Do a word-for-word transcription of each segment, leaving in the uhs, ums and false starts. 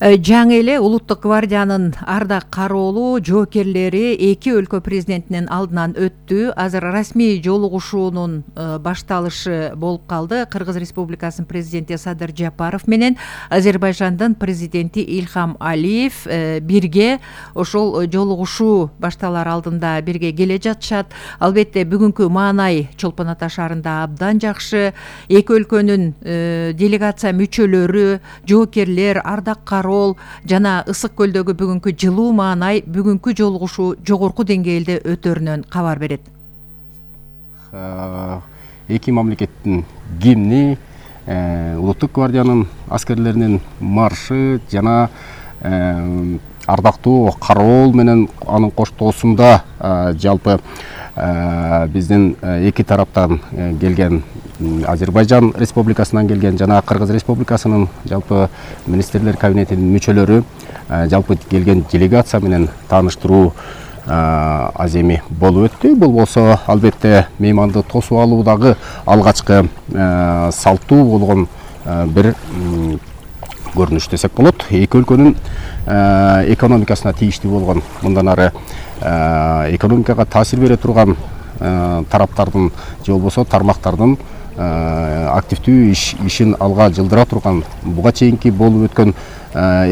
Жаңы эле Улуттук гвардиянын ардак кароолу жоокерлери эки өлкө президентинин алдынан өттү. Азыр расмий жолугушуунун башталышы болуп калды. Кыргыз Республикасынын президенти Садыр Жапаров менен Азербайжандын президенти Ильхам Алиев бирге ошол жолугушуу башталар алдында бирге келе жатышат. Албетте бүгүнкү маанай Чолпон Ата шаарында абдан жакшы. Эки өлкөнүн делегация мүчөлөрү, жоокерлер, ардак кароо жана Ысык көлдөгү бүгүнкү жылуу маанай бүгүнкү жолугушуу жогорку деңгээлде өтөрүнөн кабар берет. Эки мамлекеттин гимни, Улуттук гвардиянын аскерлеринин маршы жана ардактуу кароол менен анын коштоосунда жалпы биздин эки тараптан келген Азербайжан Республикасынан келген жана Кыргыз Республикасынын жалпы министрлер кабинетинин мүчөлөрү жалпы келген делегация менен тааныштыруу аземи болуп өттү. Бул болсо албетте мейманды тосуп алуудагы алгачкы салттуу болгон бир көрүнүш десек болот. Эки өлкөнүн экономикасына тийиштүү болгон, мындан ары экономикага таасир бере турган тараптардын же болбосо тармактардын активдүү ишин алга жылдыра турган, буга чейинки болуп өткөн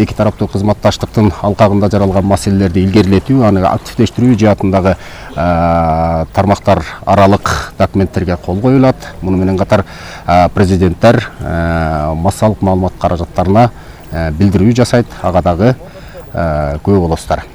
эки тараптуу кызматташтыктын алкагында жаралган маселелерди илгерилетүү, аны активдештирүү жаатындагы тармактар аралык документтерге кол коюлат. Муну менен катар президенттер массалык маалымат каражаттарына билдирүү жасайт, ага дагы күбө болосуздар.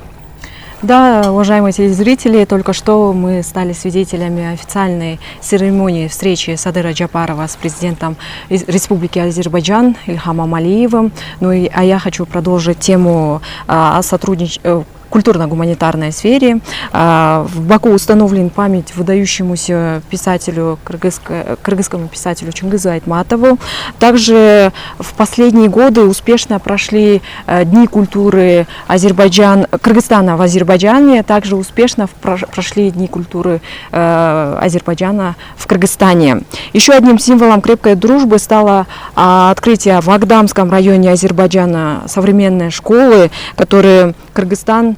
Да, уважаемые телезрители, только что мы стали свидетелями официальной церемонии встречи Садыра Джапарова с президентом Республики Азербайджан Ильхамом Алиевым. Ну и, а я хочу продолжить тему о сотрудничестве в культурно-гуманитарной сфере. В Баку установлен память выдающемуся писателю, кыргызскому писателю Чингизу Айтматову. Также в последние годы успешно прошли Дни культуры Азербайджан, Кыргызстана в Азербайджане. Также успешно прошли Дни культуры Азербайджана в Кыргызстане. Еще одним символом крепкой дружбы стало открытие в Агдамском районе Азербайджана современной школы, которую Кыргызстан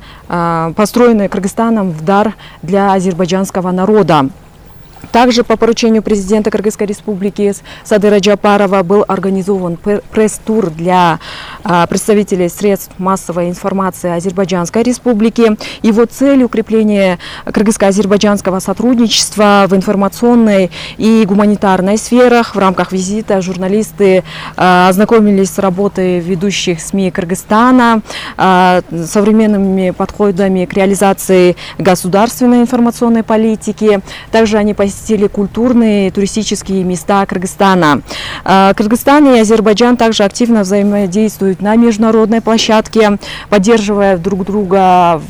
построенные Кыргызстаном в дар для азербайджанского народа. Также по поручению президента Кыргызской республики Садыра Джапарова был организован пресс-тур для представителей средств массовой информации Азербайджанской республики. Его цель — укрепление кыргызско-азербайджанского сотрудничества в информационной и гуманитарной сферах. В рамках визита журналисты ознакомились с работой ведущих СМИ Кыргызстана, современными подходами к реализации государственной информационной политики. Также они посетили культурные и туристические места Кыргызстана. Кыргызстан и Азербайджан также активно взаимодействуют на международной площадке, поддерживая друг друга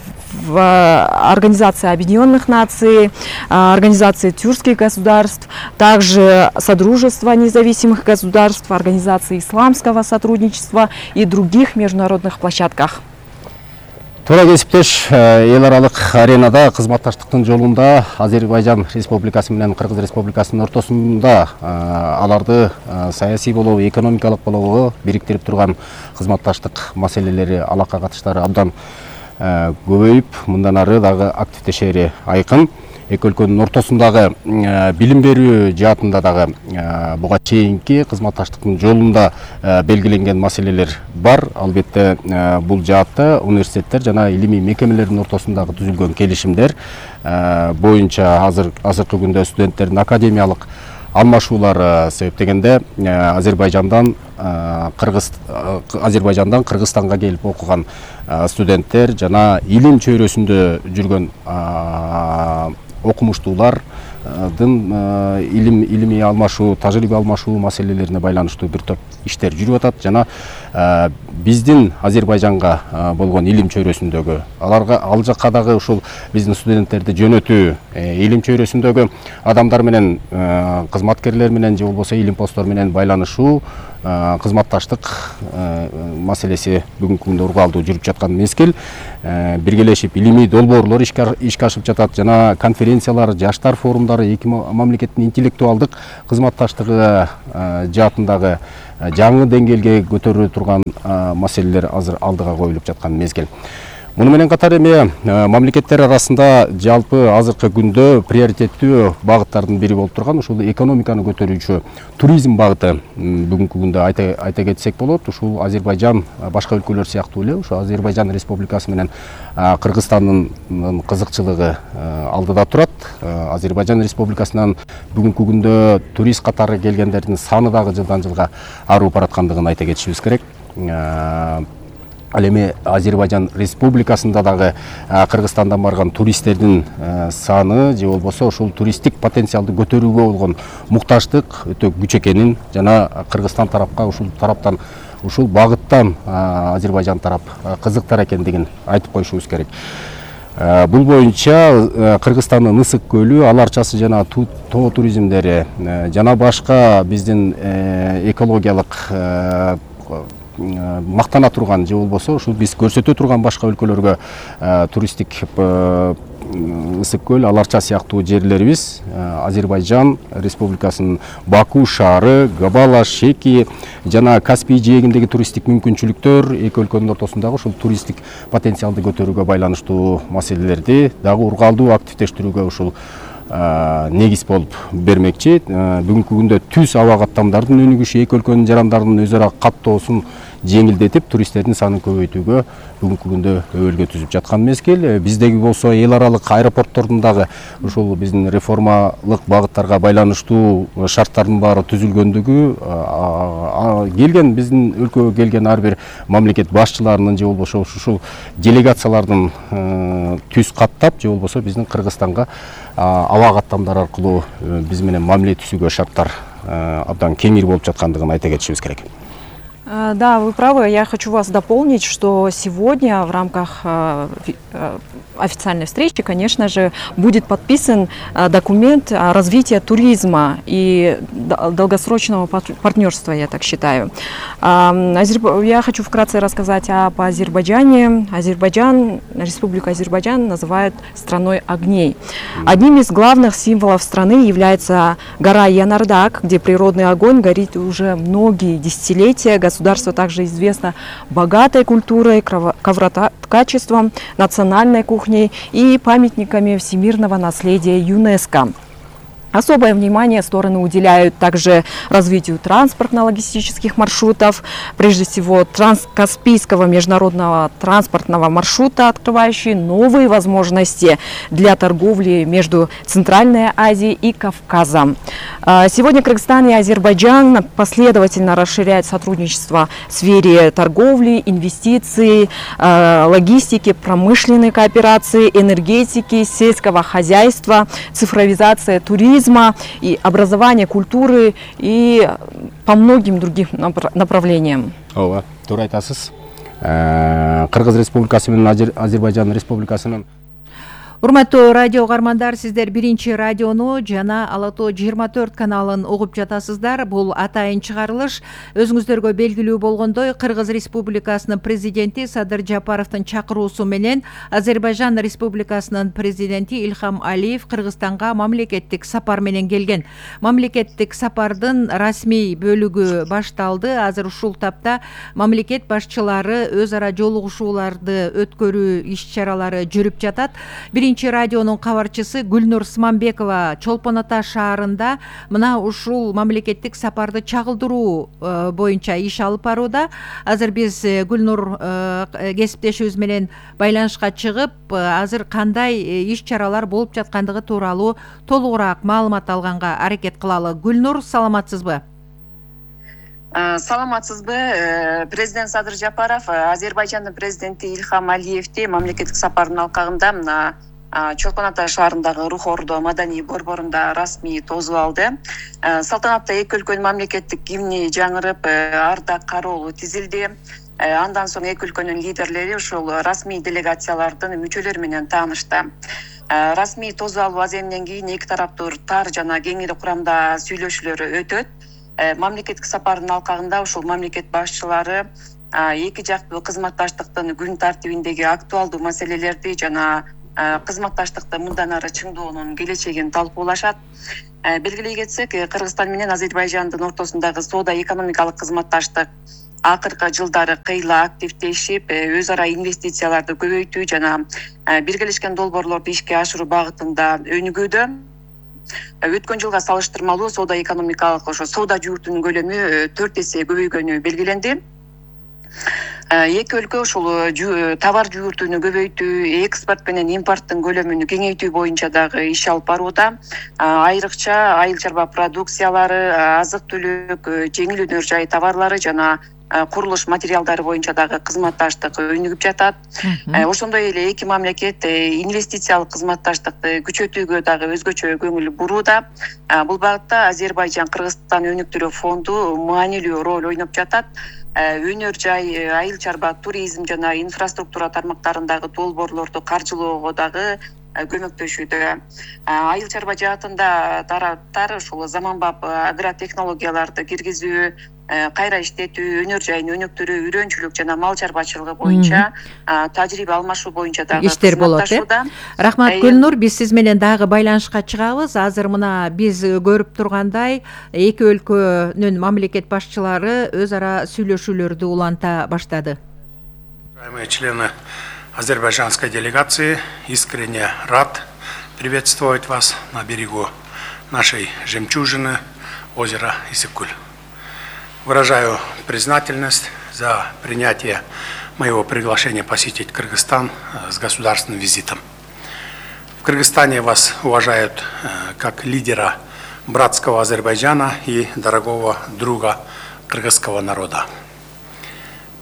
в Организации Объединенных Наций, Организации тюркских государств, также Содружества независимых государств, Организации исламского сотрудничества и других международных площадках. Туура кесиптеш, эл аралык аренада кызматташтыктын жолунда Азербайжан Республикасы менен Кыргыз Республикасынын ортосунда аларды саясий болобу, экономикалык болобу бириктирип турган кызматташтык маселелери, алака катыштары абдан көбөйүп, мындан ары дагы активдешери айкын. Эки өлкөнүн ортосундагы билим берүү жаатында дагы буга чейинки кызматташтыктын жолунда белгиленген маселелер бар. Албетте бул жаатта университеттер жана илимий мекемелердин ортосундагы түзүлгөн келишимдер боюнча азыр азыркы күндө студенттердин академиялык алмашуулары себептегенде Азербайжандан Кыргыз Азербайжандан Кыргызстанга келип окуган студенттер жана илим чөйрөсүндө жүргөн окумуштуулардын илим илимий алмашуу, тажрыйба алмашуу маселелерине байланыштуу бир топ иштер жүрүп атат жана биздин Азербайжанга болгон илим чөйрөсүндөгү аларга ал жакка дагы ушул биздин студенттерди жөнөтүү, илим чөйрөсүндөгү адамдар менен кызматкерлер менен же болбосо илим посттор менен байланышуу кызматташтык маселеси бүгүнкү күндө ургаалдуу жүрүп жаткан мезгил. Биргелешип илимий долбоорлор ишке ашып жатат. Жана конференциялар, жаштар форумдары, эки мамлекеттин интеллектуалдык кызматташтыгы жаатындагы жаңы деңгээлге көтөрүлө турган маселелер азыр алдыга коюлуп жаткан мезгил. Муну менен катар эми мамлекеттер арасында жалпы азыркы күндө приоритеттүү багыттардын бири болуп турган ушул экономиканы көтөрүүчү туризм багыты бүгүнкү күндө айта айта кетсек болот. Ушул Азербайжан башка өлкөлөр сыяктуу эле ушул Азербайжан Республикасы менен Кыргызстандын кызыкчылыгы алдыда турат. Азербайжан Республикасынан бүгүнкү күндө турист катары келгендердин саны дагы жылдан жылга арып бараткандыгын айта кетишибиз керек. Ал эми Азербайжан Республикасында дагы Кыргызстандан барган туристтердин саны же болбосо ушул туристтик потенциалды көтөрүүгө болгон мукташтык өтө күч экенин жана Кыргызстан тарапка ушул тараптан ушул багыттан Азербайжан тарап кызыктар экендигин айтып коюшубуз керек. Бул боюнча Кыргызстандын Ысык көлү, ал арчасы жана тоо туризмдери жана башка биздин экологиялык мактана турган же болбосо ушул биз көрсөтө турган башка өлкөлөргө туристтик Ысык көл, Ал Арча сыяктуу жерлерибиз Азербайжан Республикасынын Баку шаары, Габала, Шеки жана Каспий жээгиндеги туристтик мүмкүнчүлүктөр эки өлкөнүн ортосундагы ушул туристтик потенциалды көтөрүүгө байланыштуу маселелерди дагы ургаалдуу активдештирүүгө ушул негиз болуп бермекчи. Бүгүнкү күндө түз аба каттамдардын өнүгүшү эки өлкөнүн жарандарынын өз ара каттоосун жеңилдетип, туристтердин санын көбөйтүүгө бүгүнкү күндө өбөлгө түзүп жаткан мезгил. Биздеги болсо эл аралык аэропорттордун дагы ушул биздин реформалык багыттарга байланыштуу шарттардын баары түзүлгөндүгү, келген биздин өлкөгө келген ар бир мамлекет башчыларынын же болбосо ушул делегациялардын түз каттап же болбосо биздин Кыргызстанга аба каттамдар аркылуу биз менен мамиле түзүүгө шарттар абдан кеңир болуп жаткандыгын айта кетишибиз керек. Да, вы правы. Я хочу вас дополнить, что сегодня в рамках официальной встречи, конечно же, будет подписан документ о развитии туризма и долгосрочного партнерства, я так считаю. Я хочу вкратце рассказать об Азербайджане. Азербайджан, Республика Азербайджан называют страной огней. Одним из главных символов страны является гора Янардак, где природный огонь горит уже многие десятилетия. Государство также известно богатой культурой, ковроткачеством, национальной кухней и памятниками всемирного наследия ЮНЕСКО. Особое внимание стороны уделяют также развитию транспортно-логистических маршрутов, прежде всего Транскаспийского международного транспортного маршрута, открывающий новые возможности для торговли между Центральной Азией и Кавказом. Сегодня Кыргызстан и Азербайджан последовательно расширяют сотрудничество в сфере торговли, инвестиций, логистики, промышленной кооперации, энергетики, сельского хозяйства, цифровизация туризма и образования, культуры и по многим другим направлениям. Ооба, туура айтасыз. Кыргыз Республикасы менен Азербайжан Республикасынын Урматтуу радио каармандар, сиздер биринчи радиону жана Ала Тоо жыйырма төрт каналын угуп жатасыздар. Бул атайын чыгарылыш өзүңүздөргө белгилүү болгондой Кыргыз Республикасынын президенти Садыр Жапаровдун чакыруусу менен Азербайжан Республикасынын президенти Ильхам Алиев Кыргызстанга мамлекеттик сапар менен келген. Мамлекеттик сапардын расмий бөлүгү башталды. Азыр ушул тапта мамлекет башчылары өз ара жолугушууларды өткөрүү иш-чаралары жүрүп жатат. Биринчи радионун кабарчысы Гүлнур Смамбекова Чолпон Ата шаарында мына ушул мамлекеттик сапарды чагылдыруу боюнча иш алып барууда. Азыр биз Гүлнур кесиптешибиз менен байланышка чыгып, азыр кандай иш-чаралар болуп жаткандыгы тууралуу толугураак маалымат алганга аракет кылалы. Гүлнур, саламатсызбы? Саламатсызбы? Президент Садыр Жапаров Азербайжандын президенти Ильхам Алиевди мамлекеттик сапардын алкагында мына Чолпон Ата шаарындагы Рух Ордо маданий борборунда расмий тосуп алды. Салтанатта эки өлкөнүн мамлекеттик гимни жаңырып, Ардак кароолу тизилди. Андан соң эки өлкөнүн лидерлери ушул расмий делегациялардын мүчөлөрү менен таанышты. Расмий тосуп алуу аземинен кийин эки тараптуу тар жана кеңири курамда сүйлөшүүлөр өтөт. мамлекеттик сапардын алкагында ушул мамлекет башчылары эки жактуу кызматташтыктын күн тартибиндеги актуалдуу маселелерди жана кызматташтыкты мындан ары чыңдоонун келечегин талкуулашат. Белгилей кетсек, Кыргызстан менен Азербайжандын ортосундагы соода экономикалык кызматташтык акыркы жылдары кыйла активдешип, өз ара инвестицияларды көбөйтүү жана биргелешкен долбоорлорду ишке ашыруу багытында өнүгүүдө. Өткөн жылга салыштырмалуу соода экономикалык ошо соода жууртунун көлөмү төрт эсе көбөйгөнү белгиленди. Эки өлкө ушул товар жууртууну көбөйтүү, экспорт менен импорттун көлөмүн кеңейтүү боюнча дагы иш алып барууда. Айрыкча айыл чарба продукциялары, азык-түлүк, жеңил өнөр жай товарлары жана курулуш материалдары боюнча дагы кызматташтык өнүгүп жатат. Ошондой эле эки мамлекет инвестициялык кызматташтыкты күчөтүүгө дагы өзгөчө көңүл бурууда. Бул багытта Азербайжан Кыргызстан өнүктүрүү фонду маанилүү роль ойноп жатат. Өнөр жай, айыл чарба, туризм жана инфраструктура тармактарындагы долбоорлорду каржылоого дагы көмөктөшүүдө. Айыл чарба жаатында тараптар ушул заманбап агротехнологияларды киргизүү, кайра иштетүү, өнөр жайын өнүктүрүү, үйрөнчүлүк жана мал чарбачылыгы боюнча тажрыйба алмашуу боюнча дагы иштер болот. Рахмат Гүлнур, биз сиз менен дагы байланышка чыгабыз. Азыр мына биз көрүп тургандай эки өлкөнүн мамлекет башчылары өз ара сүйлөшүүлөрдү уланта баштады. Уважаемые члены азербайджанской делегации, искренне рад приветствовать вас на берегу нашей жемчужины озера Исыкуль. Выражаю признательность за принятие моего приглашения посетить Кыргызстан с государственным визитом. В Кыргызстане вас уважают как лидера братского Азербайджана и дорогого друга кыргызского народа.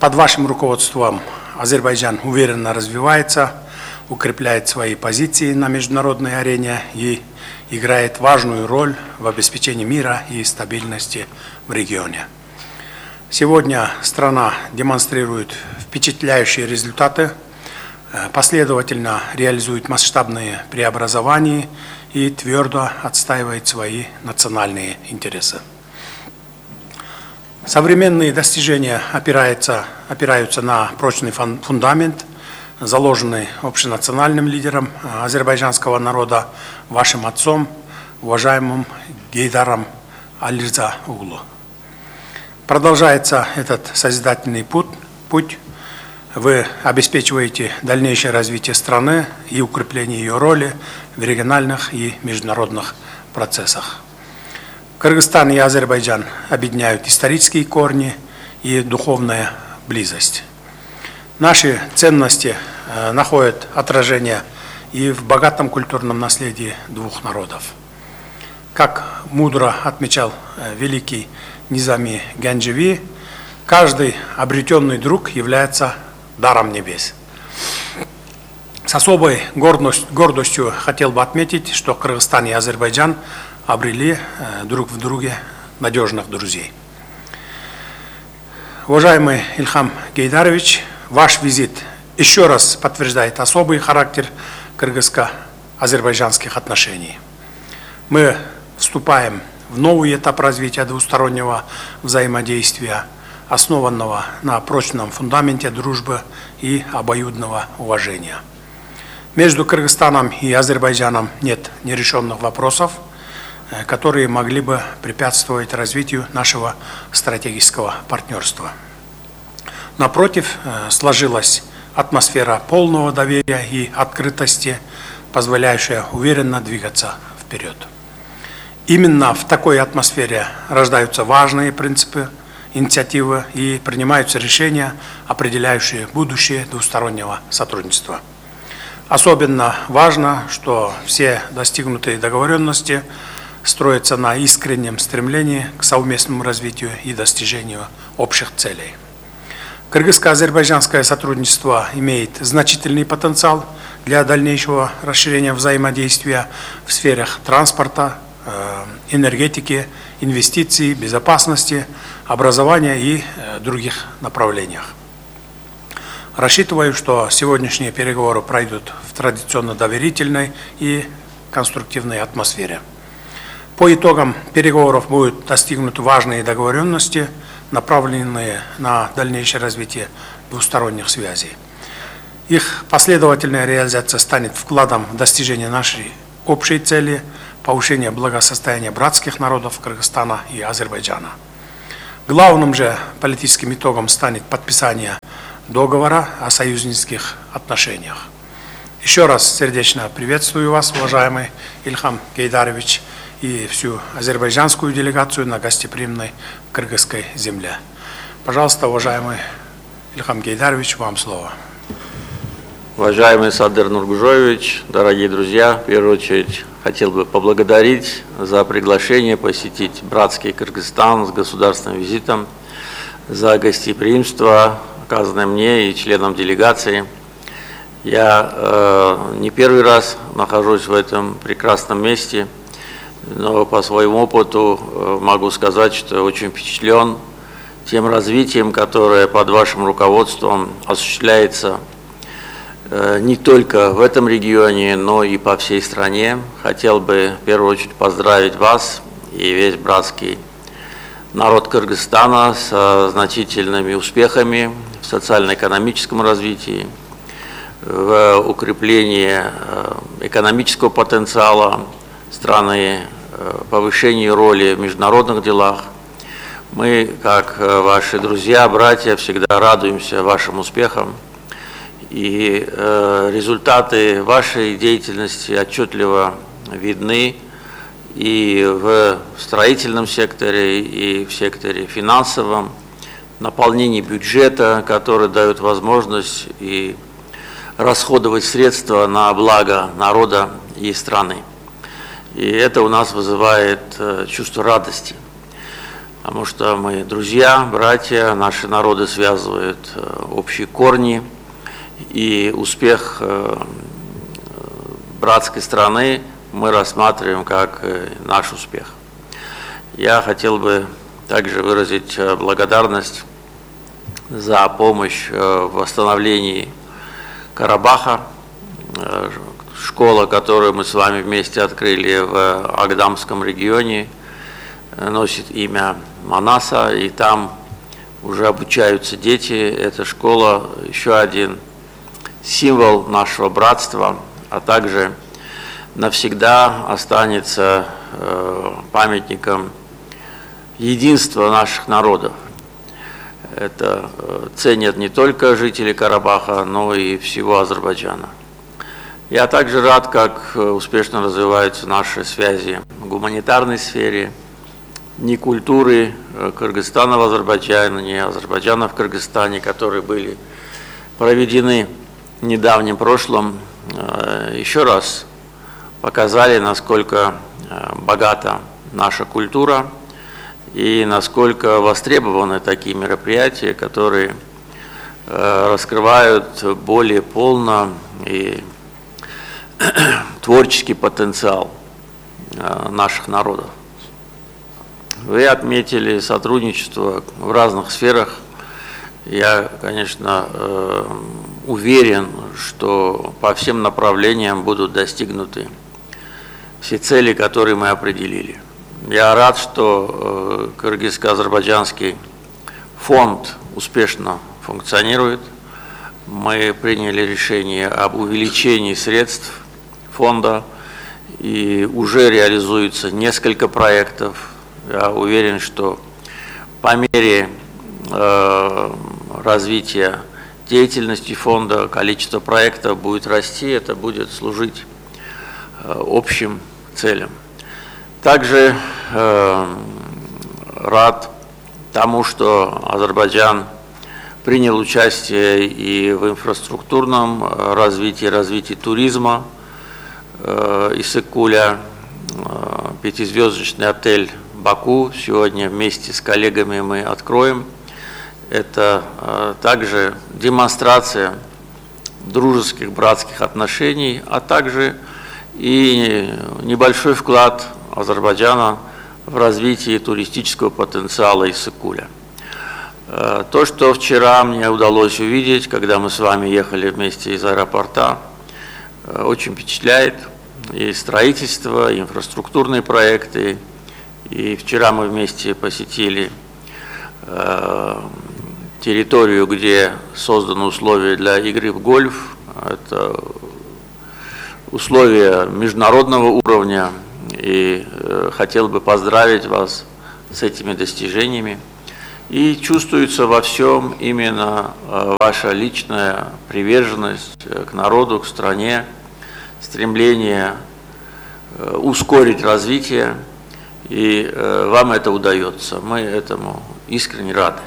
Под вашим руководством Азербайджан уверенно развивается, укрепляет свои позиции на международной арене и играет важную роль в обеспечении мира и стабильности в регионе. Сегодня страна демонстрирует впечатляющие результаты, последовательно реализует масштабные преобразования и твердо отстаивает свои национальные интересы. Современные достижения опираются, опираются на прочный фундамент, заложенный общенациональным лидером азербайджанского народа, вашим отцом, уважаемым Гейдаром Алирза Углу. Продолжается этот созидательный путь, путь. Вы обеспечиваете дальнейшее развитие страны и укрепление ее роли в региональных и международных процессах. Кыргызстан и Азербайджан объединяют исторические корни и духовная близость. Наши ценности находят отражение и в богатом культурном наследии двух народов. Как мудро отмечал великий Низами Гянджеви, каждый обретенный друг является даром небес. С особой гордостью хотел бы отметить, что Кыргызстан и Азербайджан обрели друг в друге надежных друзей. Уважаемый Ильхам Гейдарович, ваш визит еще раз подтверждает особый характер кыргызско-азербайджанских отношений. Мы вступаем в новый этап развития двустороннего взаимодействия, основанного на прочном фундаменте дружбы и обоюдного уважения. Между Кыргызстаном и Азербайджаном нет нерешенных вопросов, которые могли бы препятствовать развитию нашего стратегического партнерства. Напротив, сложилась атмосфера полного доверия и открытости, позволяющая уверенно двигаться вперед. Именно в такой атмосфере рождаются важные принципы, инициативы и принимаются решения, определяющие будущее двустороннего сотрудничества. Особенно важно, что все достигнутые договоренности строятся на искреннем стремлении к совместному развитию и достижению общих целей. Кыргызско-азербайджанское сотрудничество имеет значительный потенциал для дальнейшего расширения взаимодействия в сферах транспорта, энергетики, инвестиций, безопасности, образования и других направлениях. Рассчитываю, что сегодняшние переговоры пройдут в традиционно доверительной и конструктивной атмосфере. По итогам переговоров будут достигнуты важные договоренности, направленные на дальнейшее развитие двусторонних связей. Их последовательная реализация станет вкладом в достижение нашей общей цели – повышения благосостояния братских народов Кыргызстана и Азербайджана. Главным же политическим итогом станет подписание договора о союзнических отношениях. Еще раз сердечно приветствую вас, уважаемый Ильхам Гейдарович, и всю азербайджанскую делегацию на гостеприимной кыргызской земле. Пожалуйста, уважаемый Ильхам Гейдарович, вам слово. Уважаемый Садыр Нургужоевич, дорогие друзья, в первую очередь хотел бы поблагодарить за приглашение посетить братский Кыргызстан с государственным визитом, за гостеприимство, оказанное мне и членам делегации. Я э, не первый раз нахожусь в этом прекрасном месте, но по своему опыту э, могу сказать, что очень впечатлен тем развитием, которое под вашим руководством осуществляется э, не только в этом регионе, но и по всей стране. Хотел бы в первую очередь поздравить вас и весь братский народ Кыргызстана с значительными успехами в социально-экономическом развитии, в укреплении экономического потенциала страны, повышении роли в международных делах. Мы, как ваши друзья, братья, всегда радуемся вашим успехам. И результаты вашей деятельности отчетливо видны и в строительном секторе, и в секторе финансовом, наполнении бюджета, который дает возможность и расходовать средства на благо народа и страны. И это у нас вызывает чувство радости, потому что мы друзья, братья, наши народы связывают общие корни, и успех братской страны мы рассматриваем как наш успех. Я хотел бы также выразить благодарность за помощь в восстановлении Карабаха, школа, которую мы с вами вместе открыли в Агдамском регионе, носит имя Манаса, и там уже обучаются дети. Эта школа еще один символ нашего братства, а также навсегда останется памятником единства наших народов. Это ценят не только жители Карабаха, но и всего Азербайджана. Я также рад, как успешно развиваются наши связи в гуманитарной сфере. Ни культуры Кыргызстана в Азербайджане, ни Азербайджана в Кыргызстане, которые были проведены в недавнем прошлом, еще раз показали, насколько богата наша культура и насколько востребованы такие мероприятия, которые раскрывают более полно и творческий потенциал наших народов. Вы отметили сотрудничество в разных сферах. Я, конечно, уверен, что по всем направлениям будут достигнуты все цели, которые мы определили. Я рад, что Кыргызско-Азербайджанский фонд успешно функционирует. Мы приняли решение об увеличении средств фонда, и уже реализуется несколько проектов. Я уверен, что по мере э, развития деятельности фонда количество проектов будет расти, это будет служить э, общим целям. Также э, рад тому, что Азербайджан принял участие и в инфраструктурном развитии, развитии туризма. Э, Иссык-Куля, э, пятизвездочный отель Баку сегодня вместе с коллегами мы откроем. Это э, также демонстрация дружеских, братских отношений, а также и небольшой вклад Азербайджана в развитие туристического потенциала Иссык-Куля. Э, то, что вчера мне удалось увидеть, когда мы с вами ехали вместе из аэропорта, э, очень впечатляет. и строительство, и инфраструктурные проекты. И вчера мы вместе посетили э, территорию, где созданы условия для игры в гольф. Это условия международного уровня. И э, хотел бы поздравить вас с этими достижениями. И чувствуется во всем именно э, ваша личная приверженность э, к народу, к стране, стремление э, ускорить развитие, и э, вам это удается. Мы этому искренне рады.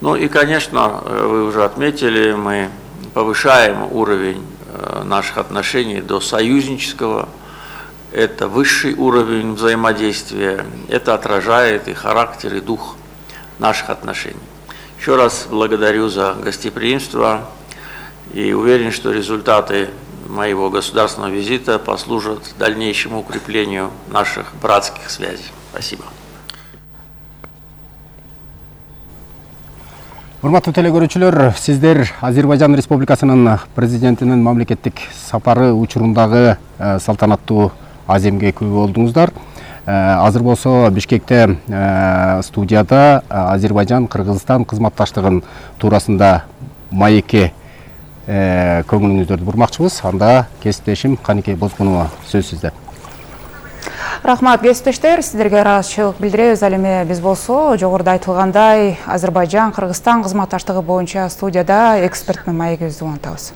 Ну и, конечно, вы уже отметили, мы повышаем уровень э, наших отношений до союзнического. Это высший уровень взаимодействия. Это отражает и характер, и дух наших отношений. Еще раз благодарю за гостеприимство и уверен, что результаты моего государственного визита послужат дальнейшему укреплению наших братских связей. Спасибо. Урматтуу телекөрүүчүлөр, сиздер Азербайжан Республикасынын президентинин мамлекеттик сапары учурундагы салтанаттуу аземге күбө болдуңуздар. Азыр болсо Бишкекте студияда Азербайжан Кыргызстан кызматташтыгын туурасында маекке көңүлүңүздөрдү бурмакчыбыз. Анда кесиптешим Канике Бозгунова сөз сизде. Рахмат, кесиптештер, сиздерге ыраазычылык билдиребиз. Ал эми биз болсо жогоруда айтылгандай Азербайжан Кыргызстан кызматташтыгы боюнча студияда эксперттин маегибизди улантабыз.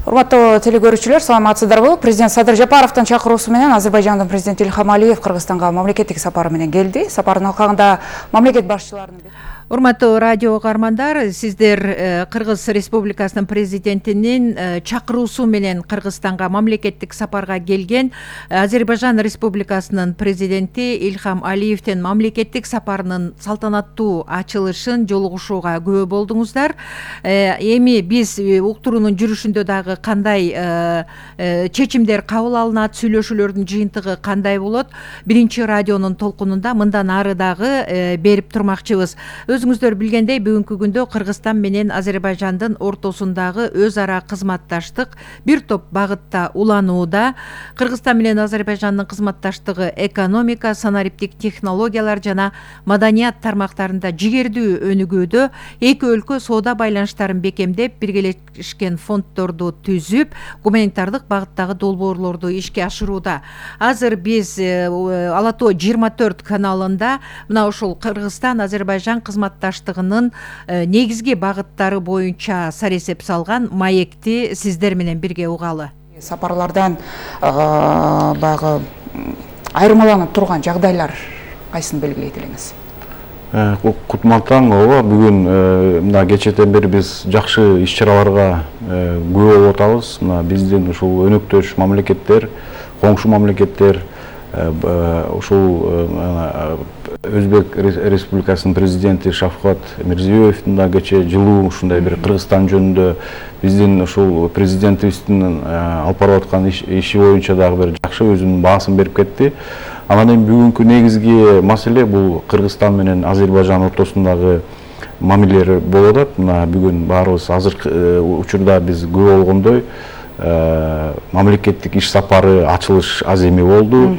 Урматтуу телекөрүүчүлөр, саламатсыздарбы? Президент Садыр Жапаровдун чакыруусу менен Азербайжандын президенти Ильхам Алиев Кыргызстанга мамлекеттик сапары менен келди. Сапардын алкагында мамлекет башчыларынын Урматтуу радио каармандар, сиздер Кыргыз Республикасынын президентинин чакыруусу менен Кыргызстанга мамлекеттик сапарга келген Азербайжан Республикасынын президенти Ильхам Алиевдин мамлекеттик сапарынын салтанаттуу ачылышын жолугушууга күбө болдуңуздар. Эми биз уктуруунун жүрүшүндө дагы кандай чечимдер кабыл алынат, сүйлөшүүлөрдүн жыйынтыгы кандай болот? Биринчи радионун толкунунда мындан ары дагы берип турмакчыбыз. Өзүңүздөр билгендей, бүгүнкү күндө Кыргызстан менен Азербайжандын ортосундагы өз ара кызматташтык бир топ багытта уланууда. Кыргызстан менен Азербайжандын кызматташтыгы экономика, санариптик технологиялар жана маданият тармактарында жигердүү өнүгүүдө. Эки өлкө соода байланыштарын бекемдеп, биргелешкен фонддорду түзүп, гуманитардык багыттагы долбоорлорду ишке ашырууда. Азыр биз Ала тоо жыйырма төрт каналында мына ушул Кыргызстан Азербайжан кызматташтыгынын негизги багыттары боюнча саресеп салган маекти сиздер менен бирге угалы. Сапарлардан баягы айырмаланып турган жагдайлар кайсын белгилейт элеңиз? Кутман таң, ооба, бүгүн мына кечеден бери биз жакшы иш-чараларга күбө болуп атабыз. Мына биздин ушул өнөктөш мамлекеттер, коңшу мамлекеттер ушул Өзбек Республикасынын президенти Шавкат Мирзиёевдин да кече жылуу ушундай бир Кыргызстан жөнүндө биздин ушул президентибиздин алып барып аткан иши боюнча дагы бир жакшы өзүнүн баасын берип кетти. Анан эми бүгүнкү негизги маселе бул Кыргызстан менен Азербайжан ортосундагы мамилелер болуп атат. Мына бүгүн баарыбыз азыркы учурда биз күбө болгондой мамлекеттик иш сапары ачылыш аземи болду.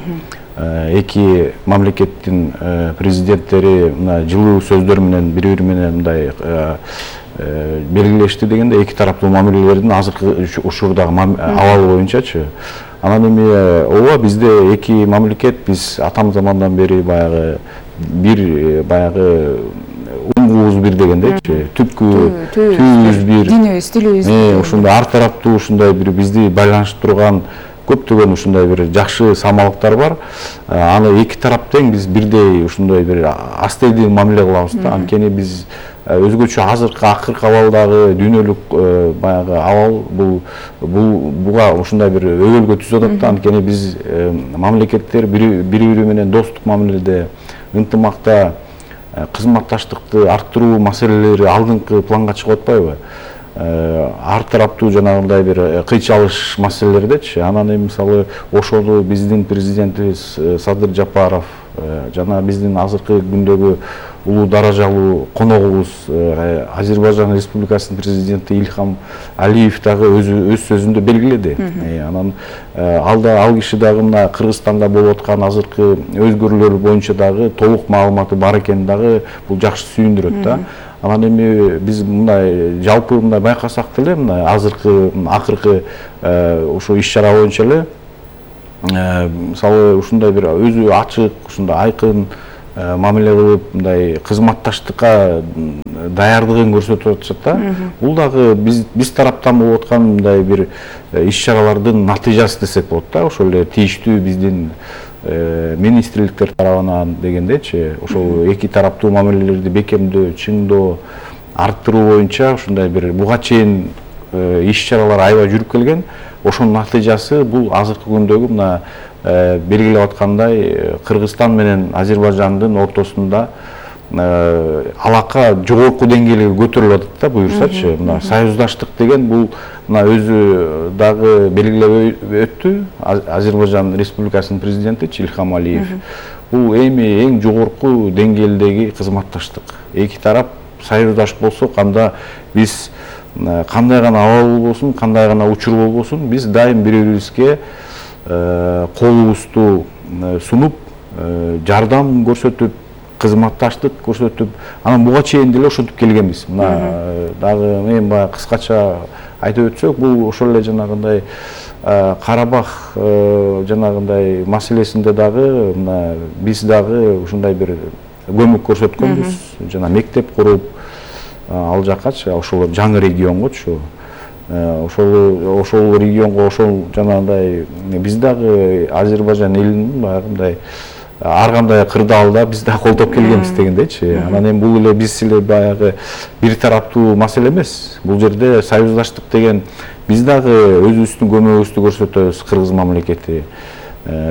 Эки мамлекеттин президенттери мына жылуу сөздөр менен бири-бири менен мындай белгилешти дегенде эки тараптуу мамилелердин азыркы учурдагы абалы боюнчачы. Анан эми ооба бизде эки мамлекет, биз атам замандан бери баягы бир баягы уңгубуз бир дегендейчи, түпкү түйүбүз бир, динибиз, тилибиз бир. Ушундай ар тараптуу ушундай бир бизди байланыштырып турган көптөгөн ушундай бир жакшы самалыктар бар. Аны эки тарап тең биз бирдей ушундай бир астейди мамиле кылабыз да. Анткени биз өзгөчө азыркы акыркы абалдагы дүйнөлүк баягы абал бул бул буга ушундай бир өбөлгө түзүп атат да. Анткени биз мамлекеттер бири-бири менен достук мамиледе, ынтымакта кызматташтыкты арттыруу маселелери алдыңкы планга чыгып атпайбы? Ар тараптуу жанагындай бир кыйчалыш маселелердечи. Анан эми мисалы ошону биздин президентибиз Садыр Жапаров жана биздин азыркы күндөгү улуу даражалуу коногубуз Азербайжан Республикасынын президенти Ильхам Алиев дагы өзү өз сөзүндө белгиледи. Анан алда ал киши дагы мына Кыргызстанда болуп аткан азыркы өзгөрүүлөр боюнча дагы толук маалыматы бар экени дагы бул жакшы сүйүндүрөт да. Анан эми биз мындай жалпы мындай байкасак деле мына азыркы акыркы ошо иш-чара боюнча эле мисалы ушундай бир өзү ачык, ушундай айкын мамиле кылып, мындай кызматташтыкка даярдыгын көрсөтүп атышат да. Бул дагы биз биз тараптан болуп аткан мындай бир иш-чаралардын натыйжасы десек болот да. Ошол эле тийиштүү биздин министрликтер тарабынан дегендейчи, ошол эки тараптуу мамилелерди бекемдөө, чыңдоо, арттыруу боюнча ушундай бир буга чейин иш-чаралар аябай жүрүп келген. Ошонун натыйжасы бул азыркы күндөгү мына белгилеп аткандай Кыргызстан менен Азербайжандын ортосунда алака жогорку деңгээлге көтөрүлүп атат да буюрсачы. Мына союздаштык деген бул мына өзү дагы белгилеп өттү Азербайжан Республикасынын президенти Ильхам Алиев. Бул эми эң жогорку деңгээлдеги кызматташтык. Эки тарап союздаш болсок, анда биз кандай гана абал болбосун, кандай гана учур болбосун, биз дайым бири-бирибизге колубузду сунуп, жардам көрсөтүп, кызматташтык көрсөтүп, анан буга чейин деле ошентип келгенбиз. Мына дагы эми баягы кыскача айтып өтсөк, бул ошол эле жанагындай Карабах жанагындай маселесинде дагы мына биз дагы ушундай бир көмөк көрсөткөнбүз. Жана мектеп куруп, ал жаккачы, ошол жаңы регионгочу, ошол ошол регионго ошол жанагындай биз дагы Азербайжан элинин баягындай ар кандай кырдаалда биз да колдоп келгенбиз дегендейчи. Анан эми бул эле биз эле баягы бир тараптуу маселе эмес. Бул жерде союздаштык деген биз дагы өзүбүздүн көмөгүбүздү көрсөтөбүз, кыргыз мамлекети.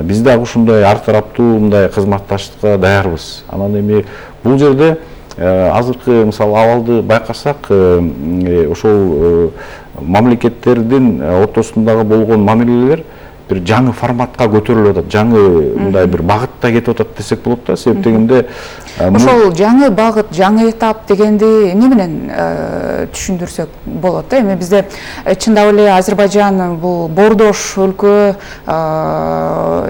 Биз дагы ушундай ар тараптуу мындай кызматташтыкка даярбыз. Анан эми бул жерде азыркы мисалы абалды байкасак, ошол мамлекеттердин ортосундагы болгон мамилелер бир жаңы форматка көтөрүлүп атат, жаңы мындай бир багытта кетип атат десек болот да. Себеп дегенде ошол жаңы багыт, жаңы этап дегенди эмне менен түшүндүрсөк болот да? Эми бизде чындап эле Азербайжан бул боордош өлкө,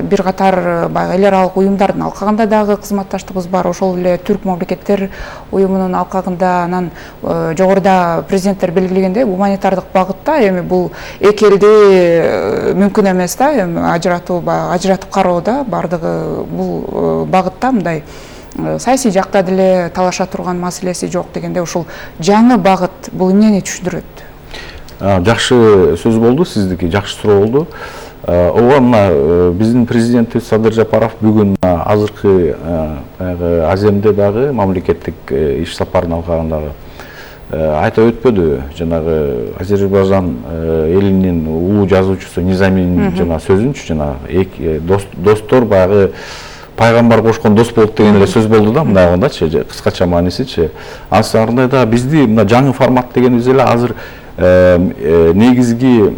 бир катар баягы эл аралык уюмдардын алкагында дагы кызматташтыгыбыз бар. Ошол эле Түрк мамлекеттер уюмунун алкагында, анан жогоруда президенттер белгилегендей гуманитардык багытта эми бул эки элди мүмкүн эмес да, ажыратуу, ажыратып кароо да, бардыгы бул багытта мындай саясий жакта деле талаша турган маселеси жок дегенде, ошол жаңы багыт бул эмнени түшүндүрөт? Жакшы сөз болду, сиздики жакшы суроо болду. Ооба, мына биздин президентибиз Садыр Жапаров бүгүн азыркы Аземде дагы мамлекеттик иш сапарынын алкагындагы айтып өтпөдү, жанагы Азербайжан элинин улуу жазуучусу Низаминин жана сөзүнчү, жана достор баягы пайгамбар кошкон дос болот деген эле сөз болду да, мындайгындачы, кыскача маанисичи. Ансарындай да бизди мына жаңы формат дегенибиз эле азыр негизги